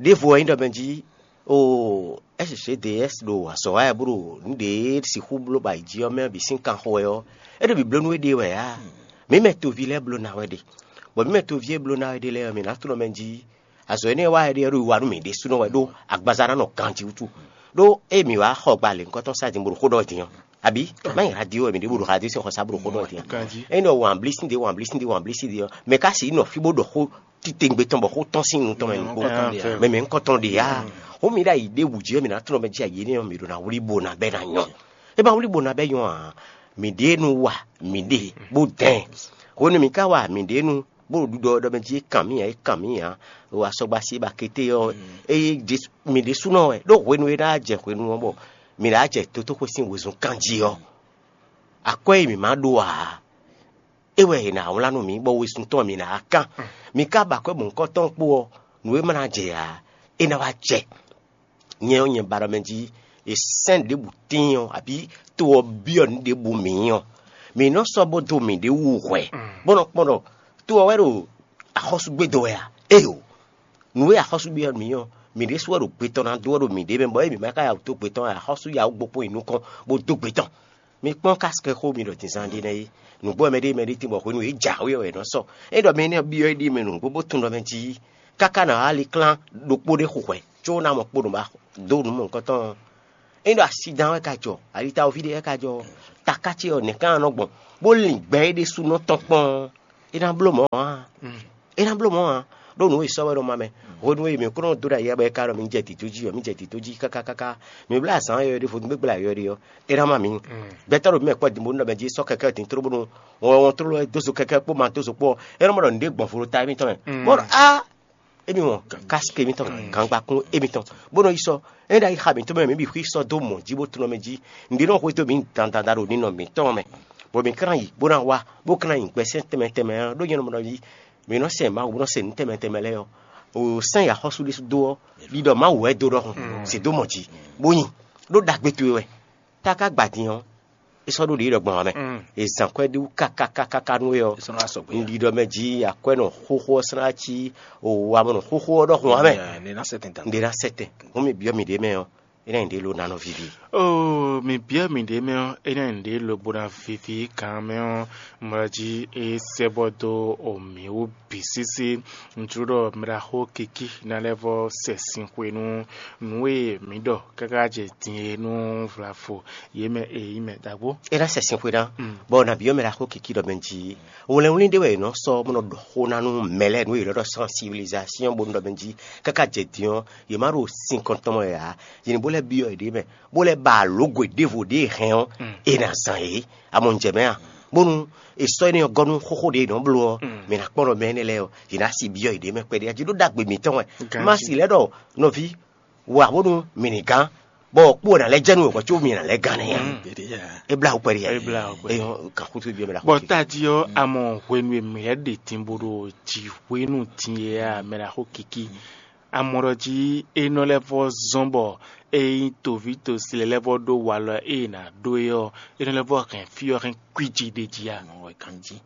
Ɖěvo ɔ́ nyí ɖɔ mɛ jí o S C D S ɖo azɔ̌ wa wɛ bó ɖo nǔ ɖě sixú bló ba yi jí ɔ́ mɛ bǐ sín kanxɔ wɛ ɔ́, é ɖo bǐbló nú éɖée wɛ ǎ. Mǐ mɛ toví lɛ́ɛ bló ná wɛ ɖe, bɔ mǐ mɛ toví e bló ná wɛ ɖe lɛ́ɛ ɔ́, mǐ ná tunɔ mɛ jí azɔ̌ énɛ́ wa wɛ ɖe ɔ́ ɖo yi wa nú mǐ ɖésúnɔ wɛ ɖó agbaza ná nɔ ganjí wútu. Ɖó ée mǐ wá xɔ gba lěhunkɔtɔn sá din bó ɖo xó ɖɔ din ɔ́, abǐ má nyi radio wɛ mǐ ɖě bó ɖo radio sín xɔ sá bó ɖo xó ɖɔ din ɔ́, ényí ɖɔ wǎn blí sín ɖě wǎn blí sín ɖě wǎn blí sín ɖě ɔ́, mɛ ka sixú nɔ fí bó ɖɔ xó titewungbe tɔn bɔ xó tɔ́n sín nu tɔn mɛ nukpó mɛ mɛ ŋkɔtɔn ɖe ǎ. Xó mi ɖo ayi ɖé wǔ jí ɔ́, mǐ ná tunɔ mɛ jí ayi énɛ́ ɔ́, mǐ ɖo ná wlí bo ná bɛ́ ná nyɔ. É ma wlí bo ná bɛ́ nyɔ ǎ, mǐ ɖě nu wa mǐ ɖe bó dɛn. Hwenu mǐ ka wa mǐ ɖě nu bó ɖo ɖiɖɔ ɖɔ mɛ jí é kan mì ǎ, é kan mì ǎ, ɖo asɔgba sí ba kété ɔ́, eye mǐ ɖésúnɔ wɛ ɖó hwenu e ná jɛ hwenu ɔ́ bɔ mǐ ná jɛ dotóxwé sín wezun kan jí ɔ́, akwɛ́ e mǐ ma ɖó ǎ, é wɛ è nǎ wlán nú mǐ, bɔ wezun tɔn mǐ ná kán. Mǐ ka ba akwɛ́ bɔ nǔkɔntɔn kpó ɔ́, nǔ e ma ná jɛ ǎ, é ná wá jɛ. Nyɛ ɔ́, nyɛ ba ɖɔ mɛ jí è sɛ́n ɖěbǔ tíin ɔ́, abǐ to ɔ́ byɔ́ nǔ ɖěbǔ mǐ ɔ́, mǐ nɔ sɔ́ bó dó mǐɖée wú hwɛ, bó nɔ kpɔ́n ɖɔ to ɔ́ wɛ ɖo axɔ́súgbé dó wɛ a? Éeǒ! Nǔ e axɔ́súgbé ɔ́ mǐ ɔ́, mǐ ɖésú wɛ ɖo gbe tɔn ná dó wɛ ɖo mǐɖée mɛ, bɔ ée mǐ ma ka ya wǔ dó gbe tɔn ǎ, axɔ́sú ya wú gbo kpɔ́n yi nukɔn bó dó gbe tɔn. Mi kpɔ́n kásikɛxó mi ɖɔ dǐnzán ɖé nɛ́ é. Nǔgbó ɔ́ mɛ ɖé mɛ ɖé tín bɔ hwenu e jǎwe ɔ́ wɛ è nɔ sɔ. É ɖɔ mɛ énɛ́ ɔ́ byɔ́ é ɖíe mɛ nǔgbó bó tunwun ɖɔ mɛ jí káká ná wá liklán ɖokpó ɖé xo hwɛ̌, có ná mɔ kpo nǔ ba dó nǔ mɔ̌hunkɔtɔn ɔ́, Ényí ɖo asi dán wɛ ka jɔ, alitawoví ɖé wɛ ka jɔ, taká ce ɔ́, nɛ̌ ká nɔ gbɔn, bó lin gbɛ é ɖésúnɔ tɔn kpɔ́n, é ná bló mɔ̌ ǎ. É ná bló mɔ̌ ǎ. Ɖó nǔ e sɔ́ wɛ nɔ ma mɛ. Hwenu e mǐ kó nɔ dó ɖo ayǐ bɔ é ka ɖɔ mǐ jɛ dǐdó jí ɔ́, mǐ jɛ dǐdó jí káká káká. Mǐ bló azǎn yɔyɔ̌ ɖé, vodúngbégbla yɔyɔ̌ ɖé ɔ́, é ná má mǐ. Gbɛtɔ́ ɖo mǐ mɛ kpɔ́ din bónú ɖɔ mɛ jí sɔ́ kɛkɛ́ din tló bónú wɔn wɔn tló wɛ dó zo kɛkɛ́ kpó ma dó zo kpó ɔ́, é nɔ mɔ ɖɔ nǔɖé gbɔn vo ɖo ta émítɔn mɛ. Bó ɖɔ á émi wɔn kásikì émítɔn, gangbakún émítɔn, bó nɔ yi sɔ́. É ɖo ayi xa mǐtɔn mɛ, mǐ bǐ xwí sɔ́ dó mɔ̌ jí bó tunɔ mɛ jí. Nǔɖé nɔ xwedó mǐ dandan ɖo ninɔ mǐtɔn mɛ, bɔ mǐ ka ná yi bó ná wá, bó ka ná nyi gbɛsɛn tɛnmɛ tɛnmɛ ɔ́, ɖó nyɛ nɔ mɔ ɖɔ jí mǐ nɔ sɛ Mawu, bó nɔ se nǔ tɛnmɛ tɛnmɛ lɛ́ɛ ɔ́, o sɛ́n yi axɔ́sú ɖésú dó ɔ́, ɖiɖɔ Mawu wɛ dó ɖɔhun, se dó mɔ̌ jí, bó nyi ɖó ɖagbe towe wɛ. Tá ka gba din ɔ́, é sɔ́ ɖó ɖě ɖɔ gbɔn ǎ mɛ. È zǎn kwɛ́ ɖé wú kákákáká nú we ɔ́, un ɖi ɖɔ mɛ jí akwɛ́ nɔ xóxó ɔ́ slá cí wamɔnɔ xóxó ɔ́ ɖɔhun ǎ mɛ. Nɖe ná sɛtɛn dan. Nɖe ná sɛtɛn. Hɔn mi byɔ́ mi ɖě mɛ ɔ́, é ná nyí ɖě ló ná nɔ vivi. Oo, mi byɔ́ mi ɖě mɛ ɔ́, é ná nyí ɖě lobo ná vivi kan mɛ ɔ́, mlɔ́ jí é sɛ́ bɔ dó o mǐ wú bǐ sísí. Un jló ɖɔ mɛ ɖaxó Kiki ná lɛ́ vɔ sɛ sin xwe nú nǔ e mǐ ɖɔ káká jɛ din e nú vlavo yě mɛ e nyí mɛ ɖaxó. É ná sɛ sin xwe ná, bɔ nabí ɔ́ mɛ ɖaxó Kiki ɖɔ mɛ jí wlɛnwlín ɖé wɛ è nɔ sɔ́ bó nɔ ɖɔ xó ná nú mɛ lɛ́ɛ nú yě nɔ ɖɔ sensibilisation bónú ɖɔ mɛ jí káká jɛ din ɔ́, yě má ɖo sin kɔntɔn mɛ ǎ. Yě ní bó lɛ́ byɔ́ yěɖée mɛ, bó lɛ́ ba alǒgwe ɖěvo ɖě è hɛn ɔ́, è nǎ zán yě. Amɔ un jɛ mɛ a? Bónú è sɔ́ énɛ́ ɔ́ gɔ́ nú xóxó ɖě è nɔ bló ɔ́, mǐ ná kpɔ́n ɖɔ mɛ énɛ́ lɛ́ɛ ɔ́, yě ná si byɔ́ yěɖée mɛ kpɛɖé jí ɖó ɖagbe mǐtɔn wɛ. Má si lɛ́ ɖɔ nɔví wa bónú mǐ ní gán, bɔ kpó ná lɛ́ jɛ nú wěhɔn có mǐ ná lɛ́ gán nɛ́ ǎ. É blá wú kpɛɖé ǎ. É blá wú kpɛɖé. Eyɔn kan xútu byɔ́ mɛ ɖaxó. Bɔ tají ɔ́, a mɔ hwenu e mǐ lɛ́ ɖe din bó ɖo jǐ hwenu din é a, mɛ ɖaxó Kiki. A mɔ ɖɔ jí é nɔ lɛ́ vɔ zɔ́n bɔ é nyí toví tosi lɛ́ɛ lɛ́ vɔ ɖó walɔ e è nǎ ɖó é ɔ́, é nɔ lɛ́ vɔ hɛn fí ɔ́ hɛn kwíji ɖ'é jí a? Mɔ̌ wɛ ganjí.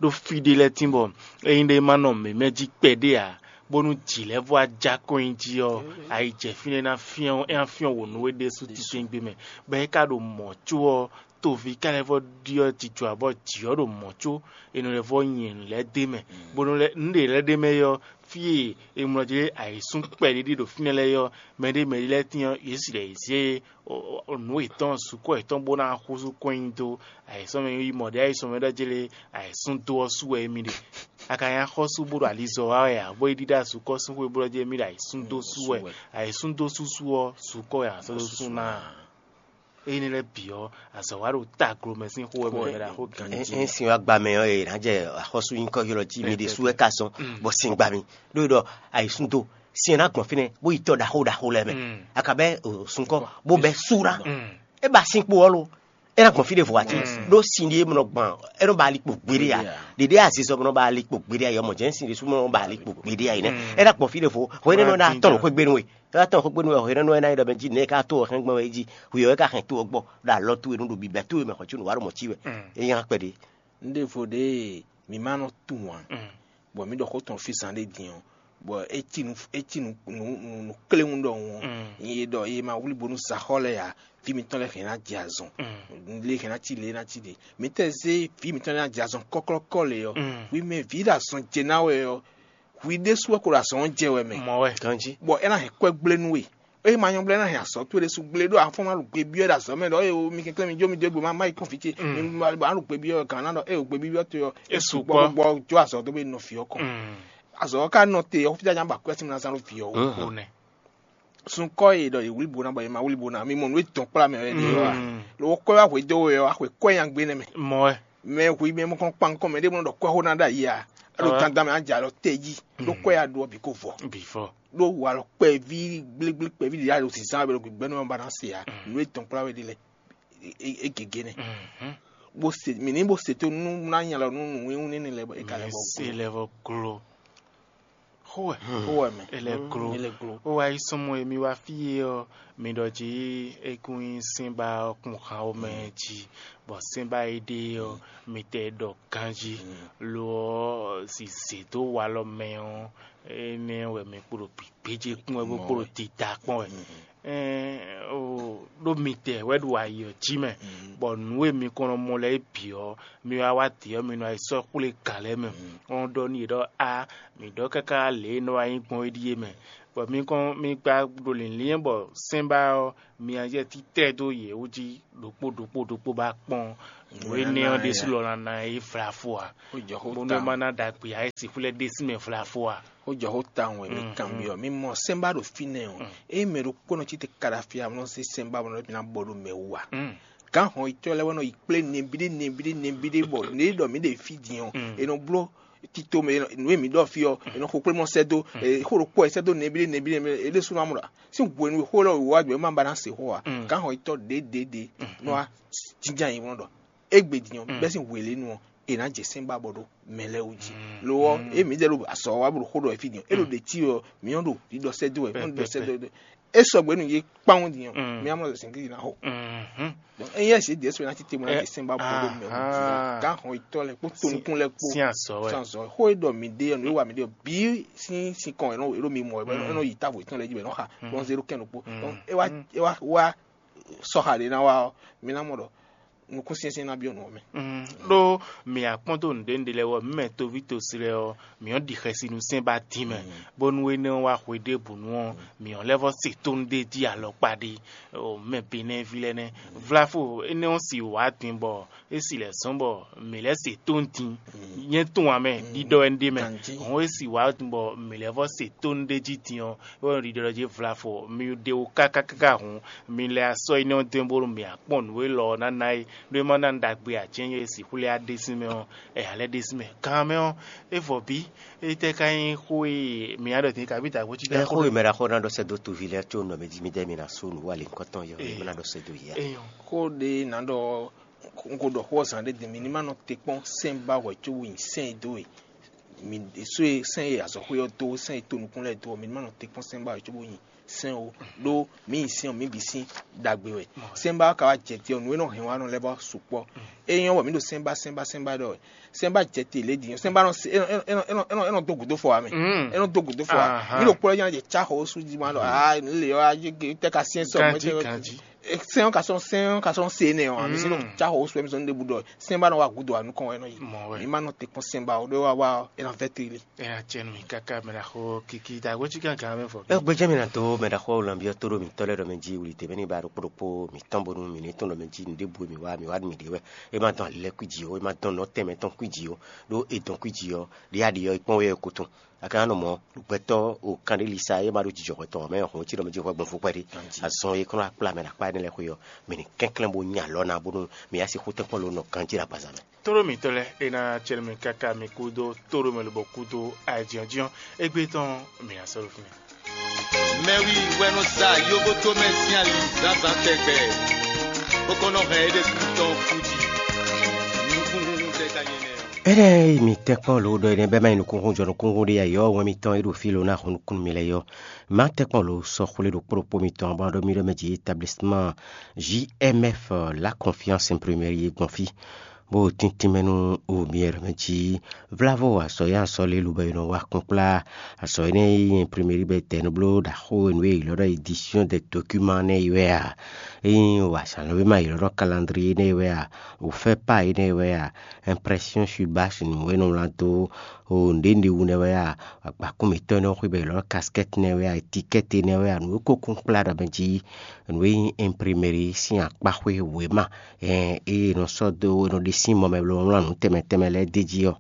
Ɖó fí ɖé lɛ́ɛ tín bɔ ényí ɖé ma nɔ mǐmɛ́ jí kpɛɖé ǎ, bónú jǐ lɛ́ɛ vɔ ajá kɔn nyi jí ɔ́, ayi jɛ fínɛ́ ná fyɔ́n é ná fyɔ́n wǒ nú we ɖésú titewungbe mɛ, bɔ é ka ɖo mɔ̌ có ɔ́, toví ka lɛ́ vɔ ɖyɔ́ jijɔ ǎ, bɔ jǐ ɔ́ ɖo mɔ̌ có è nɔ lɛ́ vɔ nyi nǔ lɛ́ɛ d'é mɛ, bó nɔ lɛ́ nǔ ɖě lɛ́ɛ ɖ'é mɛ é ɔ́, fí e è mlɔ jí ayǐsún kpɛɖé ɖe ɖo fínɛ́ lɛ́ɛ é ɔ́, mɛ ɖé mɛ ɖé lɛ́ɛ tín ɔ́, yě sì ɖɔ yě zé nǔ yětɔn sukɔ yětɔn bó ná húzú kɔn nyi dó ayǐsɔ́ mɛ yi mɔ ɖě ayǐsɔ́ mɛ ɖɔ jlé ayǐsún dó ɔ́ sú wɛ émí ɖe. A ka nyí axɔ́sú bó ɖo alizɔ wa wɛ ǎ, bó yi ɖíɖá sukɔ sín xwé bó ɖɔ jí émí ɖo ayǐsún dó sú wɛ. Ayǐsún dó súsú ɔ́, sukɔ wɛ a sɔ́ dó sú ná. Énɛ́ lɛ́ɛ bǐ ɔ́, azɔ̌ wa ɖo taglo mɛ sín xó wɛ mɛ ɖaxó gǎn. Ɛ sin wa gba mɛ ɔ́, è nǎ jɛ axɔ́sú nyíkɔ ylɔ́ jí mi ɖésú wɛ ka zɔn bɔ sin gba mi. Ɖó ɖɔ ayǐsúndo sin ɛ ná gbɔn fínɛ́ bó yi tɔ ɖaxó ɖaxó lɛ́ɛ mɛ. A ka bɛ́ sunkɔ bó bɛ́ sú ná. É ba sin kpo ɔ́ lo. É ná gbɔn fí ɖěvo ati ɖó sin ɖé mɔ gbɔn é nɔ ba ali kpo gbeɖé ya. Ɖeɖe azizɔ mɔ ba ali kpo gbeɖé ya, yɔmɔ jɛn sin ɖésú mɔ ba ali kpo gbeɖé ya yi nɛ. É ná gbɔn fí ɖěvo hwɛ nínú ná tɔn xwé gbénu we. É ná tɔn xwé gbénu we hwɛ nínú ná yi ɖɔ mɛ jí nɛ ká tó hɛn gbɔn wɛ jí hwi ɔ́ ká hɛn tó ɔ́ gbɔ ɖo alɔ tó e nú ɖo bibɛ tó e mɛ xɔ cí nǔ wa ɖo mɔ cí wɛ. É nya kpɛɖé. Nɖěvo ɖě mi ma nɔ tunwun ǎ, bɔ mǐ ɖɔ xó tɔn fí zan ɖé din ɔ́, bɔ é cí nǔ é cí nǔ nǔ nǔ kléwún ɖɔhun ɔ́, nyɛ ɖɔ è ma wlí bónú saxɔ lɛ́ɛ ǎ, vǐ mitɔn lɛ́ɛ hɛn ná jɛ azɔn. Lě hɛn ná cí lě ná cí ɖě. Mǐtɛn zé vǐ mitɔn lɛ́ɛ ná jɛ azɔn kɔ́klɔ́kɔ́ lě ɔ́, hwi mɛ vǐ ɖo azɔn jɛ ná wɛ ɔ́, hwi ɖésú wɛ ko ɖo azɔn ɔ́ jɛ wɛ mɛ. Mɔ wɛ. Ganjí. Bɔ é ná hɛn kwɛ́ gblé nú we. Eye ma nyɔ́ blɛ́ ná hɛn azɔ̌ towe ɖésú gblé ɖó afɔ́n ná ɖo gbe byɔ́ ɖo azɔ̌ mɛ ɖɔ eye mi kɛnklɛ́n mi jó mi dó gbe ma má yi kɔn fí ce mi ma ɖo gbe byɔ́ wɛ gǎn ná ɖɔ eye gbe byɔ́ towe ɔ́. É su gbɔ gbɔ jó azɔ̌ dó be nɔ fǐ ɔ́ kɔn. Azɔ̌ ɔ́ ka nɔ te ɔ́ fí nya ba kwɛ́ sín mi ná zán ɖo fǐ ɔ́ wú. Ó nɛ. Sunkɔ e ɖɔ yě wlí bo ná bɔ yě ma wlí bo ná mi mɔ nú e dɔn kplá mɛ wɛ ɖe ɔ́ a? Lo kɔ́ wá hwedó we ɔ́ axwe kɔ́ nyi agbe nɛ mɛ. Mɔ wɛ. Mɛ hu mɛ mɔ kɔn kpankɔn mɛ ɖé mɔ ɖɔ kɔ́ xó ná ɖo ayi a? Ɖo dandan mɛ á jɛ alɔ te jí. Ɖó kɔ́ ya ɖu ɔ́ bǐ ko vɔ. Bǐ vɔ. Ɖó walɔ kpɛví gblégblékpɛví ɖě aɖo zǐzán wɛ bɔ gbɛgbɛ́nú ɔ́ ba ná se ǎ. Nǔ e dɔn kplá we ɖe lɛ́ɛ é gěgé nɛ́. Bó se mǐ ní bó se tó nú ná nya lɔ nú nǔwíwú nɛ́nɛ lɛ́ɛ bɔ é ka lɛ́ bɔ se lɛ́ vɔ gló. Xówɛ. Xówɛ mɛ. Ele glo. Ele glo. Ó wá yi sɔmɔ emi wá fí e ɔ́, mi ɖɔ jí é kún nyí sɛ́nbá ɔ́ kún han ó mɛ jí, bɔ sɛ́nbá e ɖe ɔ́, mi tɛ ɖɔ ganjí. Lo ɔ́, si zě dó walɔ mɛ ɔ́, énɛ́ wɛ mi kpo ɖo gběgbéjé kpɔ́n wɛ bó kpo ɖo dida kpɔ́n wɛ. Ɛɛ o ɖó mitɛ wɛ ɖo ayi ɔ́ jí mɛ, bɔ nǔ e mi kɔn nɔ mɔ lɛ́ɛ bǐ ɔ́, mi wá wá dě ɔ́, mi nɔ yi sɔ́ xwlé gǎn lɛ́ɛ mɛ. Ɔ́ ɖɔ n'i ɖɔ a, mǐ ɖɔ káká lě e nɔ wá nyí gbɔn é ɖíe mɛ, bɔ mi kɔn mi gba ɖo lǐnlín bɔ sɛ́nbá ɔ́, mi ná yɛ títɛ́ dó yě wú jí ɖokpó ɖokpó ɖokpó bá kpɔ́n nǔ énɛ́ ɔ́ ɖésú lɔ ná ná yi vlafo ǎ. Bónú é má ná ɖagbe ǎ, é sixú lɛ́ ɖésú mɛ vlafo ǎ. Ó jɔ xó tawun wɛ mi kanbyɔ́ mi mɔ sɛ́nbá ɖo fínɛ́ ɔ́, ényí mɛ ɖokpó nɔ cí te kaɖafi amlɔ zé sɛ́nbá mɔ mi ná bɔ ɖo mɛ wú ǎ. Gǎn hɔn yitɔ́ lɛ́ɛ wɛ nɔ yi kplé nɛbíɖé nɛbíɖé nɛbíɖé bɔ nǔ e ɖɔ mǐ ɖe fí din ɔ́, è nɔ bló tito mɛ nǔ e mǐ ɖɔ fí ɔ́, è nɔ xo kplé mɔ sɛ́ dó, xó ɖokpó wɛ sɛ́ dó nɛbíɖé nɛbíɖé nɛbíɖé, é ɖésú ná mɔ ɖɔ sín hwenu e xó lɔ wǐwá gbɛ má ba ná se xó ǎ. Gǎn hɔn yitɔ́ ɖěɖěɖě nɔ wá jínjɔ́n ayǐ nɔ ɖɔ égbé din ɔ́, bɛ́ sín hwelɛ́nu ɔ́, è nǎ jɛ sɛ́n ba bɔ ɖo mɛ lɛ́ɛ wú jí. Lo ɔ́, ée mǐdɛɛ ɖo azɔ̌ wa bó ɖo xó ɖɔ wɛ fí din ɔ́, é ɖo ɖě cí ɔ́, mǐ nɔ ɖo ɖiɖɔ sɛ́ dó wɛ, mǐ nɔ ɖiɖɔ sɛ́ dó wɛ. É sɔgbe nú yě kpán wú din ɔ́, mǐ á mɔ zɛ̌ngídi ná xo. Donc ényí ɛ́ zě Jésù ná títí mɔ ná jɛ sɛ́n ba bɔ ɖo mɛ wú jí. Gǎn hɔn yitɔ́ lɛ́ɛ kpó tonukún lɛ́ɛ kpó sín azɔ̌ wɛ. Sín azɔ̌ wɛ. Xó e ɖɔ mǐ ɖe ɔ́, nǔ e wa mǐ ɖe ɔ́, bǐ sín sinkɔn wɛ é nɔ mi mɔ wɛ, é nɔ yi távo yětɔn lɛ́ɛ jí wɛ é nɔ xa, bɔ un zé ɖó kɛ́n ɖokpó. Donc é wá é wá wá sɔxa ɖě ná wá ɔ́, mi ná mɔ ɖɔ nukúnsinsɛn ná byɔ́ nǔ ɔ́ mɛ. Ɖó mǐ akpɔ́n dó nǔɖé nǔɖé lɛ́ɛ wɔ mǐ mɛ toví tosi lɛ́ɛ ɔ́, mǐ ɔ́ ɖi xɛsi nú sɛ́n ba dín mɛ, bónú énɛ́ ɔ́ wá hwe ɖěbǔ nu ɔ́, mǐ ɔ́ lɛ́ vɔ́ se tónú ɖé jí alɔkpa ɖé. Mɛ Benɛ́ví lɛ́ɛ nɛ́. Vlafo énɛ́ ɔ́ si wǎ din bɔ é si lɛ́ zɔ́n bɔ mǐ lɛ́ se tónú din. Nyɛ tunwun ame ɖiɖɔ wɛ un ɖe mɛ. Hɔn é si wǎ din bɔ mǐ lɛ́ vɔ́ se tónú ɖé jí din ɔ́, é wɛ ɖiɖɔ jí vlafo mi ɖe wú káká káká hǔn, mi lɛ asɔ énɛ́ ɔ́ dɔn bónú mǐ akpɔ́n nǔ élɔ́ ɔ́ ná ná é, ɖó é má ná ɖagbe ǎ cɛ́n é si xwlé á ɖésú mɛ ɔ́, ɛ ǎ lɛ́ ɖésú mɛ. Kan mɛ ɔ́, é vɔ bí? Étɛ́ ka nyí xó e mǐ á ɖɔ din kabí dǎgbó cí ká xó e mɛ ɖaxó ná ɖɔ sɛ́ dó toví lɛ́ɛ có nɔ mɛ jí mì dɛ́ mi ná sú nǔ wa lě ŋkɔtɔn yɔ é má ná ɖɔ sɛ́ dó yě ǎ. Xó ɖé ná ɖɔ un ko ɖɔ xó ɔ́ zǎn ɖé din, mǐ ní má nɔ te kpɔ́n sɛ́n ba hwɛ̌ cóbó nyi sɛ́n e dó e mǐ ɖésú e sɛ́n e azɔ̌xwé ɔ́ dó, sɛ́n e to nukún lɛ́ɛ dó ɔ́, mǐ ní má nɔ te kpɔ́n sɛ́n ba hwɛ̌ cóbó nyi sɛ́n ó. Ɖó mǐ nyi sɛ́n ɔ́, mǐ bǐ sín ɖagbe wɛ. Sɛ́n ba ɔ́ ka wá jɛ te ɔ́, nǔ e nɔ hɛn wá nɔ lɛ́ɛ vɔ́ sukpɔ́. É nyɔ́ bɔ mǐ ɖo sɛ́n ba sɛ́n ba sɛ́n ba ɖɔ wɛ. Sɛ́n ba jɛ te lě din ɔ́, sɛ́n ba nɔ se é nɔ é nɔ é nɔ é nɔ é nɔ dó gǔdo fɔ wá mɛ. É nɔ dó gǔdo fɔ wá. Mǐ ɖo kplɔ́ nya jɛ cá xɔ ó sú jí ma ɖɔ aa lě ɔ́ á jɛ tɛ́ ka syɛ́n sɔ mɛ tɛ́ sɛn ɔ́ ka sɔn sɛn ɔ́ ka sɔn se nɛ ɔ́, mi sin nɔ tsa xɔ woswɛ mi sɔn ɖebu ɖɔ sɛn ba nɔ wa gudo anu kɔn wɛ nɔ yi. Mɔ wɛ. Mi ma nɔ te kpɔn sɛn ba o ɖe wa wa ɔ, e na vɛ te le. Ena tiɛ nú mi káká mɛ na xo kiki da wetsi kankan mɛ fɔ. E gbɛjɛ mi na do mɛ da xɔ lambiɔ to ɖo mi tɔ lɛ ɖɔ mɛ ji wuli te mɛ ni ba ɖokpo ɖokpo mi tɔn bonu mi ni tɔn ɖɔ mɛ ji nu ɖe bu mi wa mi wa mi ɖe wɛ. E ma dɔn ali lɛ kui ji o, e ma dɔn nɔ tɛmɛ tɔn kui ji o, ɖo e dɔn kui ji ɔ ɖi aɖi ɔ e kpɔn wɛ ko tɔn. Akananɔmɔ, gbɛtɔ́ o kanɖélisa e ma ɖo jijɔxɔ tɔn mɛ hɔn cí ɖɔ mɛ jixɔ gbɔn fukpɛ ɖi. Azɔn e kɔnɔ akpla mɛ ɖo akpa énɛ́ lɛ́ɛ xwe ɔ́, mɛ ni kɛnklɛ́n bó nya alɔ ná bónú mɛ ya si xú tɛ́nkpɔ́n lo nɔ ganjí ɖo agbaza mɛ. Tóɖó mǐtɔn lɛ́ɛ é ná acɛ nú mì káká mi kúdó tóɖó mɛ lobɔ kúdó ayǐjínjɔ́n égbé tɔn mǐ ná sɔ́ ɖo fínɛ́. Mɛwi wɛ nɔ sa yóbótó mɛ sín ali zǎnzǎn tɛgbɛ, bó kɔn nɔ hɛn é ɖésú tɔn kú jí. Nukúnhún tɛ ka nyɛ nɛ́ ɔ́. Énɛ́ e mi tɛ́nkpɔ́n lǒ ɖɔ énɛ́ bɛ́ má nyí nukúnxún jɔ nukúnxún ɖé ǎ yɔ́ wɛn mitɔn e ɖo fí lo ná hun nukún nú mi lɛ́ɛ yɔ́. Má tɛ́nkpɔ́n lǒ sɔ́ xwlé ɖo kplɔ́kpó mitɔn bɔ ɖó mì ɖɔ mɛ jǐ établissement J M F la confiance imprimerie e gbɔn fí, bó tíntín mɛ nú o mi e ɖɔ mɛ jí vlávo azɔ̌ e azɔ̌ lě lobɔ è nɔ wa kpɔ́n kplá. Azɔ̌ énɛ́ e nyí imprimerie bɔ è tɛ nú bló ɖaxó e nǔ e è ylɔ́ ɖɔ édition des documents nɛ́ é wɛ a? É nyí wǎsánlɔ́wéma e è ylɔ́ ɖɔ calendrier nɛ́ é wɛ a? Wǒfɛ́pa énɛ́ é wɛ a? Impression sur bâche nǔ e nɔ wlán dó o nǔɖé nǔɖé wú nɛ́ wɛ a? Agbakún mǐtɔn e nɔ xwé bɔ è ylɔ́ ɖɔ casquette nɛ́ wɛ a? Étiquette nɛ́ wɛ a? Nǔ e ko kún kplá ɖɔ mɛ jí nǔ e nyí imprimerie sín akpáxwé wěma e è nɔ sɔ́ dó e nɔ ɖe sín mɔ mɛ bó nɔ wlán nǔ tɛnmɛ tɛnmɛ lɛ́ɛ d'é jí ɔ́,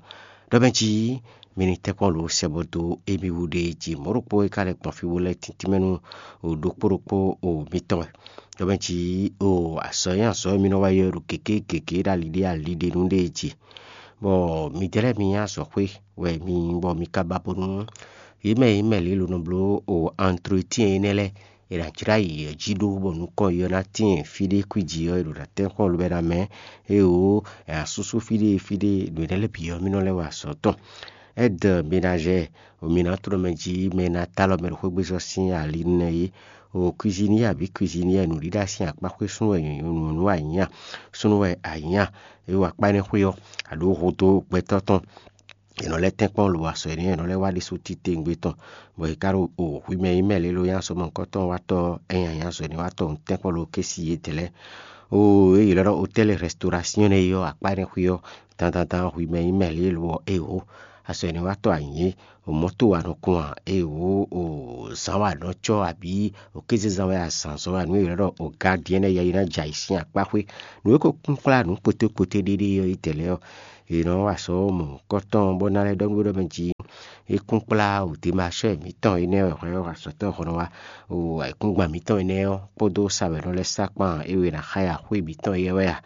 ɖɔ mɛ jí mi ní tɛ́nkpɔ́n lǒ sɛ bɔ dó émí wú ɖe jí mɔ̌ ɖokpó e ka lɛ́ gbɔn fí bó lɛ́ tíntín mɛ nú ɖokpó ɖokpó o mitɔn wɛ. Ɖɔ mɛ jí o azɔ̌ e azɔ̌ e mi nɔ wa ylɔ́ ɖo gěgé gěgé ɖo ali ɖé ali ɖé nú ɖe jí. Bɔ midɛɛ lɛ́ɛ mi nyí azɔ̌xwé wɛ mi nyí bɔ mi ka ba bónú yě mɛ e nyí mɛ lě lo nɔ bló o entretien énɛ́ lɛ́ɛ è nǎ jlá yě jí ɖó bɔ nukɔn yi ɔ́ ná tíin fí ɖé kwíji ɔ́ è ɖo ná tɛ́nkpɔ́n lobɛ ná mɛ. Éeǒ, è nǎ súsú fí ɖé fí ɖé ɖo énɛ́ lɛ́ɛ bǐ ɔ́ mì nɔ lɛ́ wa azɔ̌ tɔn. Aide ménagère, mǐ ná tló mɛ jí mɛ e ná ta alɔ mɛ ɖo xwégbezɔ́ sín ali nú nɛ́ é. O cuisinier abǐ cuisinière nǔɖíɖá sín akpáxwé súnnu wɛ nyɔ̌nu nú anyǐnya, súnnu wɛ anyǐnya. É wa akpá énɛ́ xwé ɔ́, a ɖǒ vo dó gbɛtɔ́ tɔn. è nɔ lɛ́ tɛ́nkpɔ́n lo asɔ énɛ́, è nɔ lɛ́ wá ɖésú titewungbe tɔn, bɔ è ka ɖo o hwi mɛ e nyí mɛ lě lo nyí azɔ̌mɔkɔ́tɔn watɔ́, é nyí azɔ̌ énɛ́ watɔ́ tɛ́nkpɔ́n lo ké si yědɛɛ lɛ́ɛ. Oo, é ylɔ́ ɖɔ hotɛ́li rɛstorasyɔ́n nɛ́ é ɔ́, akpá énɛ́ xwé ɔ́, dandandan hwi mɛ e nyí mɛ lě lo ɔ́, é wǒ. Azɔ̌ énɛ́ watɔ́ a nyǐ, o mɔ̌to wa nɔ kun a, é wǒ, o zǎn wa nɔ cɔ́ abǐ o kézezán wɛ a zǎn zɔ́n a, nǔ e ylɔ́ ɖɔ o gǎn ɖíe nɛ́ yɛ yi ná jɛ ayǐ sín akpá xwé. Nǔ e ko kún kplá nǔ kpótékpóté ɖéɖé ɔ́ yi tɛlɛ́ ɔ́, è nɔ wa sɔ́ mɔ kɔ́tɔn bó ná lɛ́ ɖɔ nú we ɖɔ mɛ jí é kún kplá wǔdímashɔ́ mǐtɔn énɛ́ wɛ hwɛ ɔ́, azɔ̌tɔ́ hɔn ɔ́ wá, o ayǐkúngban mǐtɔn énɛ́ ɔ́ kpódó sa wɛ nɔ lɛ́ sá kpán é we ná xá ya xwé mǐtɔn éyɛ́ wɛ a,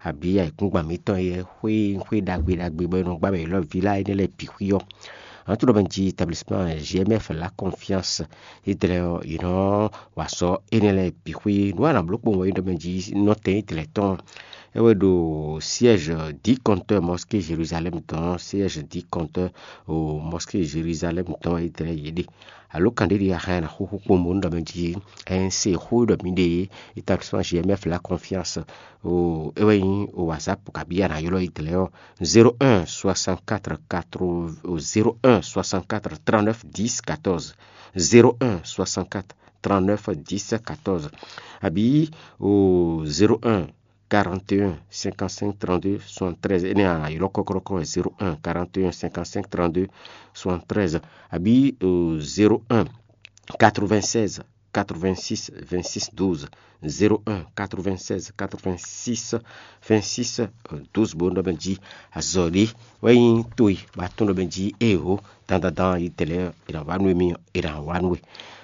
abǐ ayǐkúngban mǐtɔn éyɛ́ xwé xwé ɖagbe ɖagbe bɔ è nɔ gbá mɛ ylɔ́ vǐ lá énɛ́ lɛ́ɛ bǐ xwí ɔ́. Ǎ tún ɖɔ mɛ jí établissement G M F la confiance édɛlɛ ɔ́, yě nɔ wa sɔ́ énɛ́ lɛ́ɛ bǐ xwé nǔ a nǎ bló kpowun wɛ é ɖɔ mɛ jí nɔtɛn édɛlɛ tɔn. É wɛ ɖo siège dix compteur mosquée Jérusalem tɔn, siège dix compteur o mosquée Jérusalem tɔn édɛlɛ yě ɖe. Alo kan ɖé ɖi ahan ná xúxú kpowun bó nú ɖɔ mɛ jí N C xó ɖɔ mǐ ɖe établissement G M F la confiance. O é wɛ nyí o WhatsApp kabí a nǎ ylɔ́ édɛlɛ ɔ́, zéro un soixante-quatre quatre, zéro un soixante-quatre trente-neuf dix quatorze, zéro un soixante-quatre trente-neuf dix quatorze, abǐ o zéro un quarante et un cinquante-cinq trente-deux soixante-treize, énɛ́ a ylɔ́ kɔ́kɔ́kɔ́ wɛ, zéro un quarante et un cinquante-cinq trente-deux soixante-treize, abǐ o zéro un quatre-vingt-seize quatre-vingt-six vingt-six douze, zéro un quatre-vingt-seize quatre-vingt-six vingt-six douze bó nɔ mɛ jí azɔ̌ ɖé wɛ nyí towe bɔ atɔ́n ɖɔ mɛ jí ée hó dandandan yi tɛlɛ è nǎ wá nú émí è nǎ wá nú we.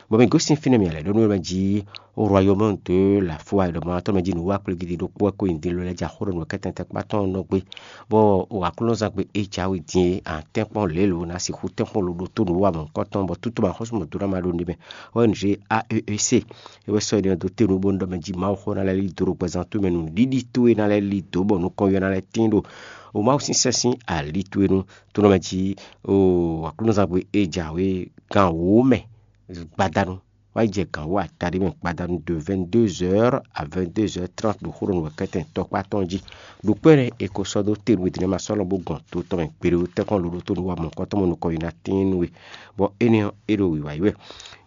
Bɔ mǐ gosín fínɛ́ mǐ lɛ́ ɖó nú mɛ jí royaume de la foi ɖɔ mɔ atɔ́ mɛ jí nǔ wá kplé gidi ɖokpó wɛ ko nyi din lo lɛ́ jɛ axó ɖo nǔ kɛtɛntɛ kpá tɔn nɔ gbé. Bɔ o aklúnɔzán gbe é jǎwe din é a tɛ́nkpɔ́n lě lo ná sixú tɛ́nkpɔ́n lo ɖótó nǔ wa mɔ̌hunkɔtɔn bɔ tútú ma xɔ́sú mɔ̌ dó ná ma ɖó ní mɛ. Wɛ N G A E E C é wɛ sɔ́ énɛ́ dó te nú bónú ɖɔ mɛ jí Mawu xó ná lɛ́ lí dó ɖo gbɛzán towe mɛ nú ɖiɖi towe ná lɛ́ lí dó bɔ nukɔn yɔ ná lɛ́ tín ɖo o Mawu sín sɛ́n sín ali towe nu. Tó nɔ mɛ jí o aklúnɔzán gbe é jǎwe gan wǒ mɛ gbadanu wá yi jɛ gan wǒ ataɖé mɛ gbadanu de vingt-deux heures à vingt-deux heures trente ɖo xó ɖo nǔ wɛ kɛ́tɛn tɔkpá tɔn jí. Ɖo kpɛ́ nɛ́ è ko sɔ́ dó te nú è dǐn ma sɔ́ lɔn bó gɔn to tɔn mɛ gbeɖé tɛ́nkpɔ́n lo ɖótó nú wa mɔ̌hunkɔtɔn mɔ nukɔn yi ná tín nú we. Bɔ énɛ́ ɔ́, é ɖo wǐwá yi wɛ.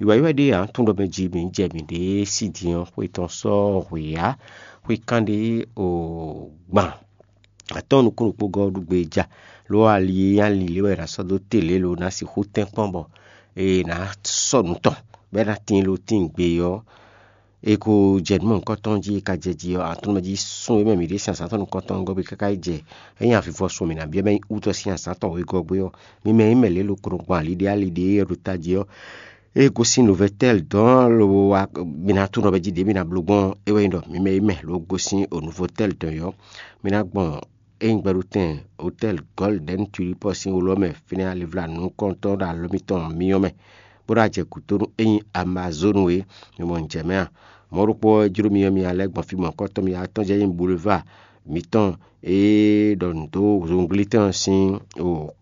Wǐwá yi wɛ ɖíe ǎ tún ɖɔ mɛ jí mǐ jɛ mǐɖée sí din ɔ́, xwe tɔn sɔ́ hwě á, xwe kán ɖé o gban atɔ́ɔ́n nukúnnú kpó gɔ́ ɖu gbe ja, lo ali e nyí ali lě wɛ è nǎ sɔ́ dó te lě lo ná sixú tɛ́nkpɔ́n bɔ è nǎ sɔ́ nǔ tɔn, bɔ é ná tín lo tín gbe ɔ́, è ko jɛ nǔ mɔ̌hunkɔtɔn jí, è ka jɛ jí ɔ́, aklúnɔ jí sun e mɛ mǐ ɖe sín azǎn tɔn nukɔntɔn gɔ́ gbé káká yi jɛ é nyí avivɔ sun mǐ ná byɔ́ mɛ nyí wútɔ sín azǎn tɔn wegɔ́ gbé ɔ́, mi mɛ nyí mɛ lě lo kɔnɔ gbɔn ali ɖé ali ɖé e ɖo tají ɔ́, é gosín Nouvelle-Telle dɔn lo wa mi ná tunɔ bɛ jí ɖě mi ná bló gbɔn é wɛ nyí ɖɔ mi mɛ yi mɛ ló gosín o Nouvelle-Telle dɔn yɔ, mi ná gbɔn é nyí gbɛɖutɛn hotɛ́l Gɔ́lidɛ́n Tulipɔ sín wlɔ mɛ fínɛ́ alivla nukɔntɔn ɖo alɔ mitɔn myɔ mɛ, bó ɖo ajɛ gǔdo nú é nyí Amazonu e mi mɔ jɛ mɛ a? Mɔ̌ ɖokpó ɔ́, é jló mi ɔ́, mi ná lɛ́ gbɔn fí mɔ̌hunkɔtɔn mi atɔ́n jɛ nyí bulevá mitɔn e ɖɔ nǔ dó zunglítɔ́n ɔ́ sín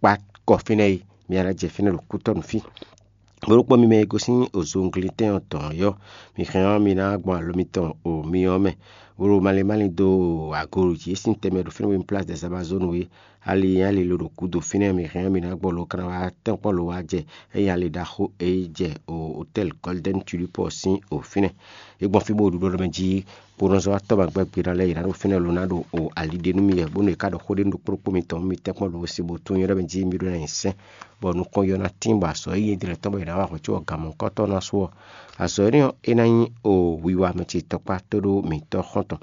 kpá kɔ fínɛ́ é, mi ná lɛ́ jɛ fínɛ́ ɖo kútɔ́ nú fí. Bó ɖokpó mi mɛ e gosín ozunglítɛn ɔ́ tɔn ɔ́, mi hɛn ɔ́, mi ná gbɔn alɔ mitɔn o myɔ ɔ́ mɛ, bó ɖo malín málín dó agolo jí e sín tɛnmɛ ɖo fínɛ́ bó nyí Place des Amazones é. Ali nyí ali lo ɖo gǔdo fínɛ́, mi hɛn ɔ́, mi ná gbɔ lo kana wá tɛ́nkpɔ́n lo wá jɛ é nyí ali ɖaxó e yi jɛ o hotɛ́l Golden Tulip ɔ́ sín o fínɛ́. É gbɔn fí bó ɖu ɖɔ mɛ jí bó nɔ zɔ́n wá tɔ́ ma gbɛ́ gbe ná lɛ́ɛ yě ná ɖo fínɛ́ lo ná ɖo o ali ɖe nú mi wɛ, bónú è ká ɖɔ xó ɖé nú ɖokpó ɖokpó mitɔn, mi tɛ́nkpɔ́n lo si bó tunwun nyɔ́ ɖɔ mɛ jí mi ɖó ná nyi sɛ́n, bɔ nukɔn yɔ ná tín bɔ azɔ̌ e nyí dlɛ̌ tɔn bɔ è nǎ wa hwɛ̌ có ɔ́ gan mɔ̌hunkɔtɔn ná su ɔ́, azɔ̌ énɛ́ ɔ́, é ná nyí o wiwa mɛ ce tɔkpá tó ɖó mǐtɔn xɔ́ntɔn.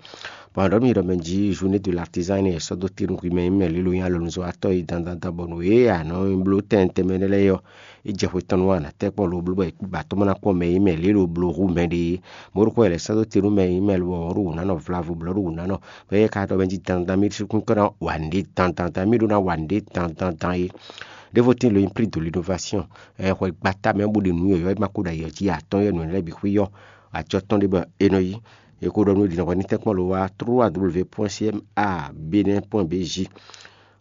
Bɔ a ɖɔ nú mi ɖɔ mɛ jí journée de l'artisan énɛ́ è sɔ́ dó te nú hwi mɛ e nyí mɛ lě lo nyí alɔnuzɔ́watɔ́ e dandandan bɔ nǔ e a nɔ bló tɛnmɛ tɛnmɛ lɛ́ɛ ɔ́, é jɛ xwe tɔn nú a nǎ tɛ́ kpɔ́n lo bló bɔ è kpí ba tɔ́ ma ná kpɔ́n mɛ e nyí mɛ lě lo bló hú mɛ ɖe é. Mɔ̌ ɖokpó wɛ è lɛ̌ sɔ́ dó te nú mɛ e nyí mɛ lo bɔ wɔ ɖó wǔ ná nɔ vlavo blɔ̌ ɖó wǔ ná nɔ, bɔ éyɛ́ ka ɖɔ mɛ jí dandan mì ɖésú kún kɔ́ ná wa nǔɖé dandandan, mì ɖó ná wa nǔɖé dandandan é. Ɖěvo tíin lo nyí prix de l'innovation, ɛ xwɛ gbata mɛ bó ɖe nǔ yɔ̌yɔ́ e ma ko ɖo ayǐ ɔ́ jí atɔ́n yɔ́ nǔ lɛ́ɛ bǐ xwí yɔ́, acɔ tɔn ɖé bɔ è nɔ yí. È ko ɖɔ nú ɖi nɔhɔ ní tɛ́nkpɔ́n lo wá trois w point c m a benin point b j,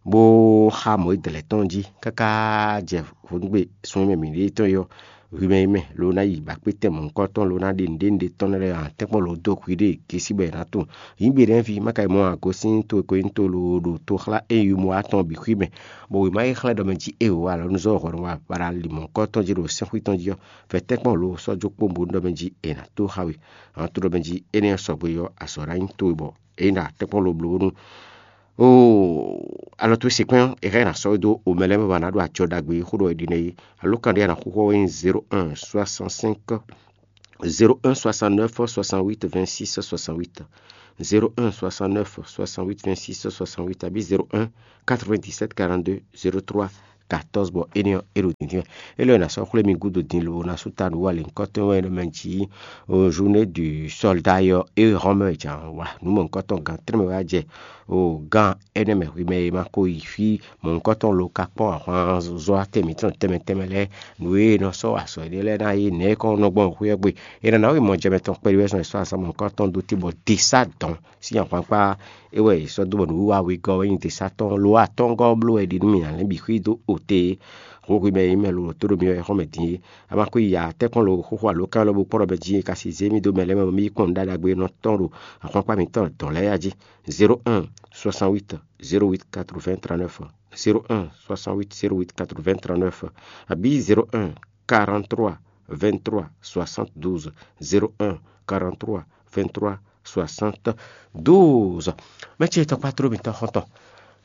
bó xa mɔ̌ e dlɛ̌ tɔn jí káká jɛ vodúngbe sun e mɛ mǐ ɖe tɔn é ɔ́, Hwi mɛ yi mɛ lo ná yi bakpétɛn mɔ̌hunkɔtɔn lo ná ɖe nǔɖé nǔɖé tɔn lɛ́ɛ ǎ, tɛ́nkpɔ́n lo dó hwi ɖe gěsí bɔ è nǎ tunwun. Yǐgbe ɖɛ̌ ví má ka yi mɔ agosín to e ko nyí to lo ɖo toxlá e yi mɔ atɔn bǐ xwí mɛ, bɔ wěma e xlɛ́ ɖɔ mɛ jí é wǒ alɔnuzɔ́ hɔn wa bara li mɔ̌hunkɔtɔn jí ɖo sɛ́nxwí tɔn jí ɔ́, vɛ̌ tɛ́nkpɔ́n lo sɔ́ jó kpó bó ɖɔ mɛ jí è nǎ tó xá we. Ǎ tó ɖɔ mɛ jí énɛ́ ɔ́ sɔgbe ɔ́, azɔ̌ ná nyí towe bɔ é ná tɛ́nkpɔ́n lo bló bónú Oo, alɔ towe sekpɛ́n ɔ́, è hɛn ná sɔ́ we dó omɛ lɛ́ɛ mɛ ba ná ɖo acɔ ɖagbe e xó ɖɔ è ɖi nɛ́ é. Alo kan ɖé a nǎ xúxú ɔ́ nyí zéro un soixante-cinq zéro un soixante-neuf soixante-huit vingt-six soixante-huit, zéro un soixante-neuf soixante-huit vingt-six soixante-huit abí zéro un quatre-vingt-dix-sept quarante-deux zéro trois quatorze bɔ énɛ́ ɔ́ é ɖo dǐndín wɛ. É lɔ ná sɔ́ xwlé mi gúdo din lo ná sú ta nǔ wa lěhunkɔtɔn wɛ ɖɔ mɛ jí o journée du soldat yɔ é hɔn mɛ jǎn wa nǔ mɔ̌hunkɔtɔn gan trɛ́nmɛ wá jɛ o gan énɛ́ mɛ hwi mɛ e ma ko yi fí mɔ̌hunkɔtɔn lo ka kpɔ́n ahwanzɔ́watɛn mǐtɔn tɛnmɛ tɛnmɛ lɛ́ɛ nǔ e nɔ sɔ́ azɔ̌ énɛ́ lɛ́ɛ ná yí nɛ̌ kɔn nɔ gbɔn xwé ɔ́ gbe. È nǎ ná wi mɔ jɛmɛ tɔn kpɛɖé wɛ zɔn e sɔ́ azɔ̌ mɔ̌hunkɔtɔn dó te bɔ desá dɔn sín ahwankpá é wɛ è sɔ́ dó bɔ nǔwiwa wegɔ́ wɛ nyí desá tɔn lo atɔ́ngɔ́ ɔ́ bló wɛ è ɖi nú mì ǎ lɛ́ bǐ xwí dó ote e. Hǔn hwi mɛ e nyí mɛ lo tó ɖo mi wɛ xɔ́n mɛ din é. A ma xwí ya tɛ́nkpɔ́n lo xóxó alo kán lɔbú kpɔ́n ɖɔ mɛ jí e ka si zé mì dó mɛ lɛ́ɛ mɛ bɔ mì yi kpɔ́n nǔɖaɖagbe nɔ tɔn ɖo ahwankpá mǐtɔn dɔn lɛ́ɛ ya jí. Zéro un soixante-huit zéro huit quatre-vingts trente-neuf, zéro un soixante-huit zéro huit quatre-vingts trente-neuf, abǐ zéro un quarante-trois vingt-trois soixante-douze, zéro un quarante-trois vingt-trois soixante-douze. Mɛ ce tɔkpá tló mǐtɔn xɔ́ntɔn.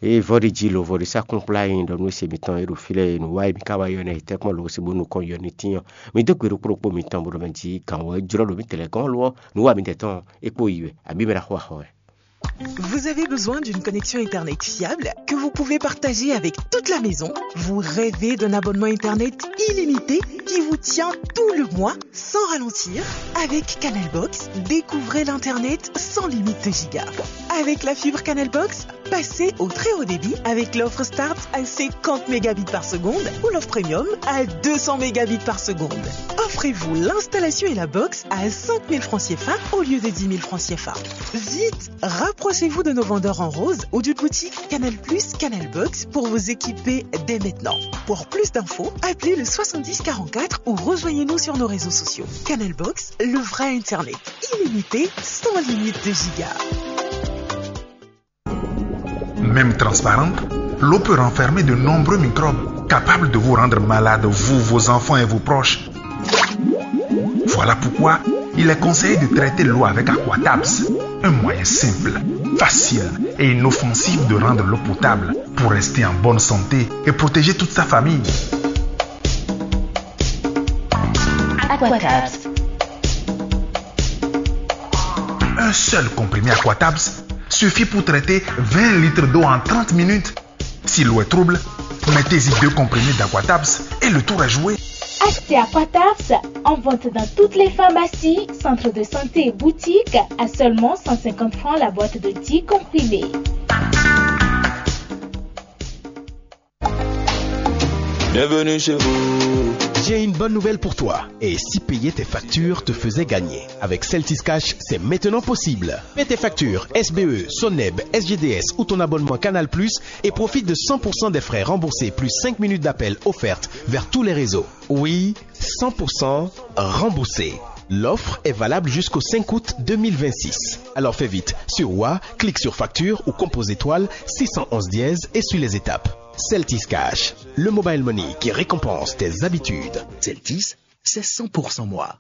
Eye vɔ́ɖi jí lo vɔ́ɖi sá kúnkplá nyi ɖɔ nú se mǐtɔn e ɖo fí lɛ́ɛ e nǔ wa e mǐ ka wá yɔ nɛ́ yi tɛ́nkpɔ́n lo se bó nukɔn yɔ ní tín ɔ́, mi dó gbe ɖokpó ɖokpó mǐtɔn bó ɖɔ mɛ jí gǎn wɔ é jlɔ́ ɖo mǐtɛn lɛ́ɛ gɔ́n lo ɔ́, nǔ wa mǐtɛn tɔn é kpó yi wɛ, abǐ mɛ ɖaxó axɔ wɛ. Vous avez besoin d'une connexion Internet fiable que vous pouvez partager avec toute la maison ? Vous rêvez d'un abonnement Internet illimité qui vous tient tout le mois sans ralentir ? Avec Canalbox, découvrez l'Internet sans limite de giga. Avec la fibre Canalbox, passez au très haut débit avec l'offre Start à cinquante mégabits par seconde ou l'offre Premium à deux cents mégabits par seconde. Offrez-vous l'installation et la box à cinq mille francs C F A au lieu de dix mille francs C F A. Vite, rapprochez-vous de nos vendeurs en rose ou d'une boutique Canal Plus, Canal Box pour vous équiper dès maintenant. Pour plus d'infos, appelez le soixante-dix quarante-quatre ou rejoignez-nous sur nos réseaux sociaux. Canal Box, le vrai Internet, illimité, sans limite de giga. Même transparente, l'eau peut renfermer de nombreux microbes capables de vous rendre malade, vous, vos enfants et vos proches. Voilà pourquoi il est conseillé de traiter l'eau avec Aquatabs, un moyen simple, facile et inoffensif de rendre l'eau potable pour rester en bonne santé et protéger toute sa famille. Aquatabs. Un seul comprimé Aquatabs suffit pour traiter vingt litres d'eau en trente minutes. Si l'eau est trouble, mettez-y deux comprimés d'Aquatabs et le tour est joué. Achetez Aquatabs en vente dans toutes les pharmacies, centres de santé et boutiques à seulement cent cinquante francs la boîte de dix comprimés. Bienvenue chez vous. J'ai une bonne nouvelle pour toi. Et si payer tes factures te faisait gagner ? Avec Celtis Cash, c'est maintenant possible. Paie tes factures S B E, Soneb, S G D S ou ton abonnement Canal Plus et profite de cent pour cent des frais remboursés plus cinq minutes d'appel offertes vers tous les réseaux. Oui, cent pour cent remboursé. L'offre est valable jusqu'au cinq août deux mille vingt-six. Alors fais vite. Sur Wa, clique sur facture ou compose étoile six cent onze dièse et suis les étapes. Celtis Cash, le mobile money qui récompense tes habitudes. Celtis, c'est cent pour cent moi.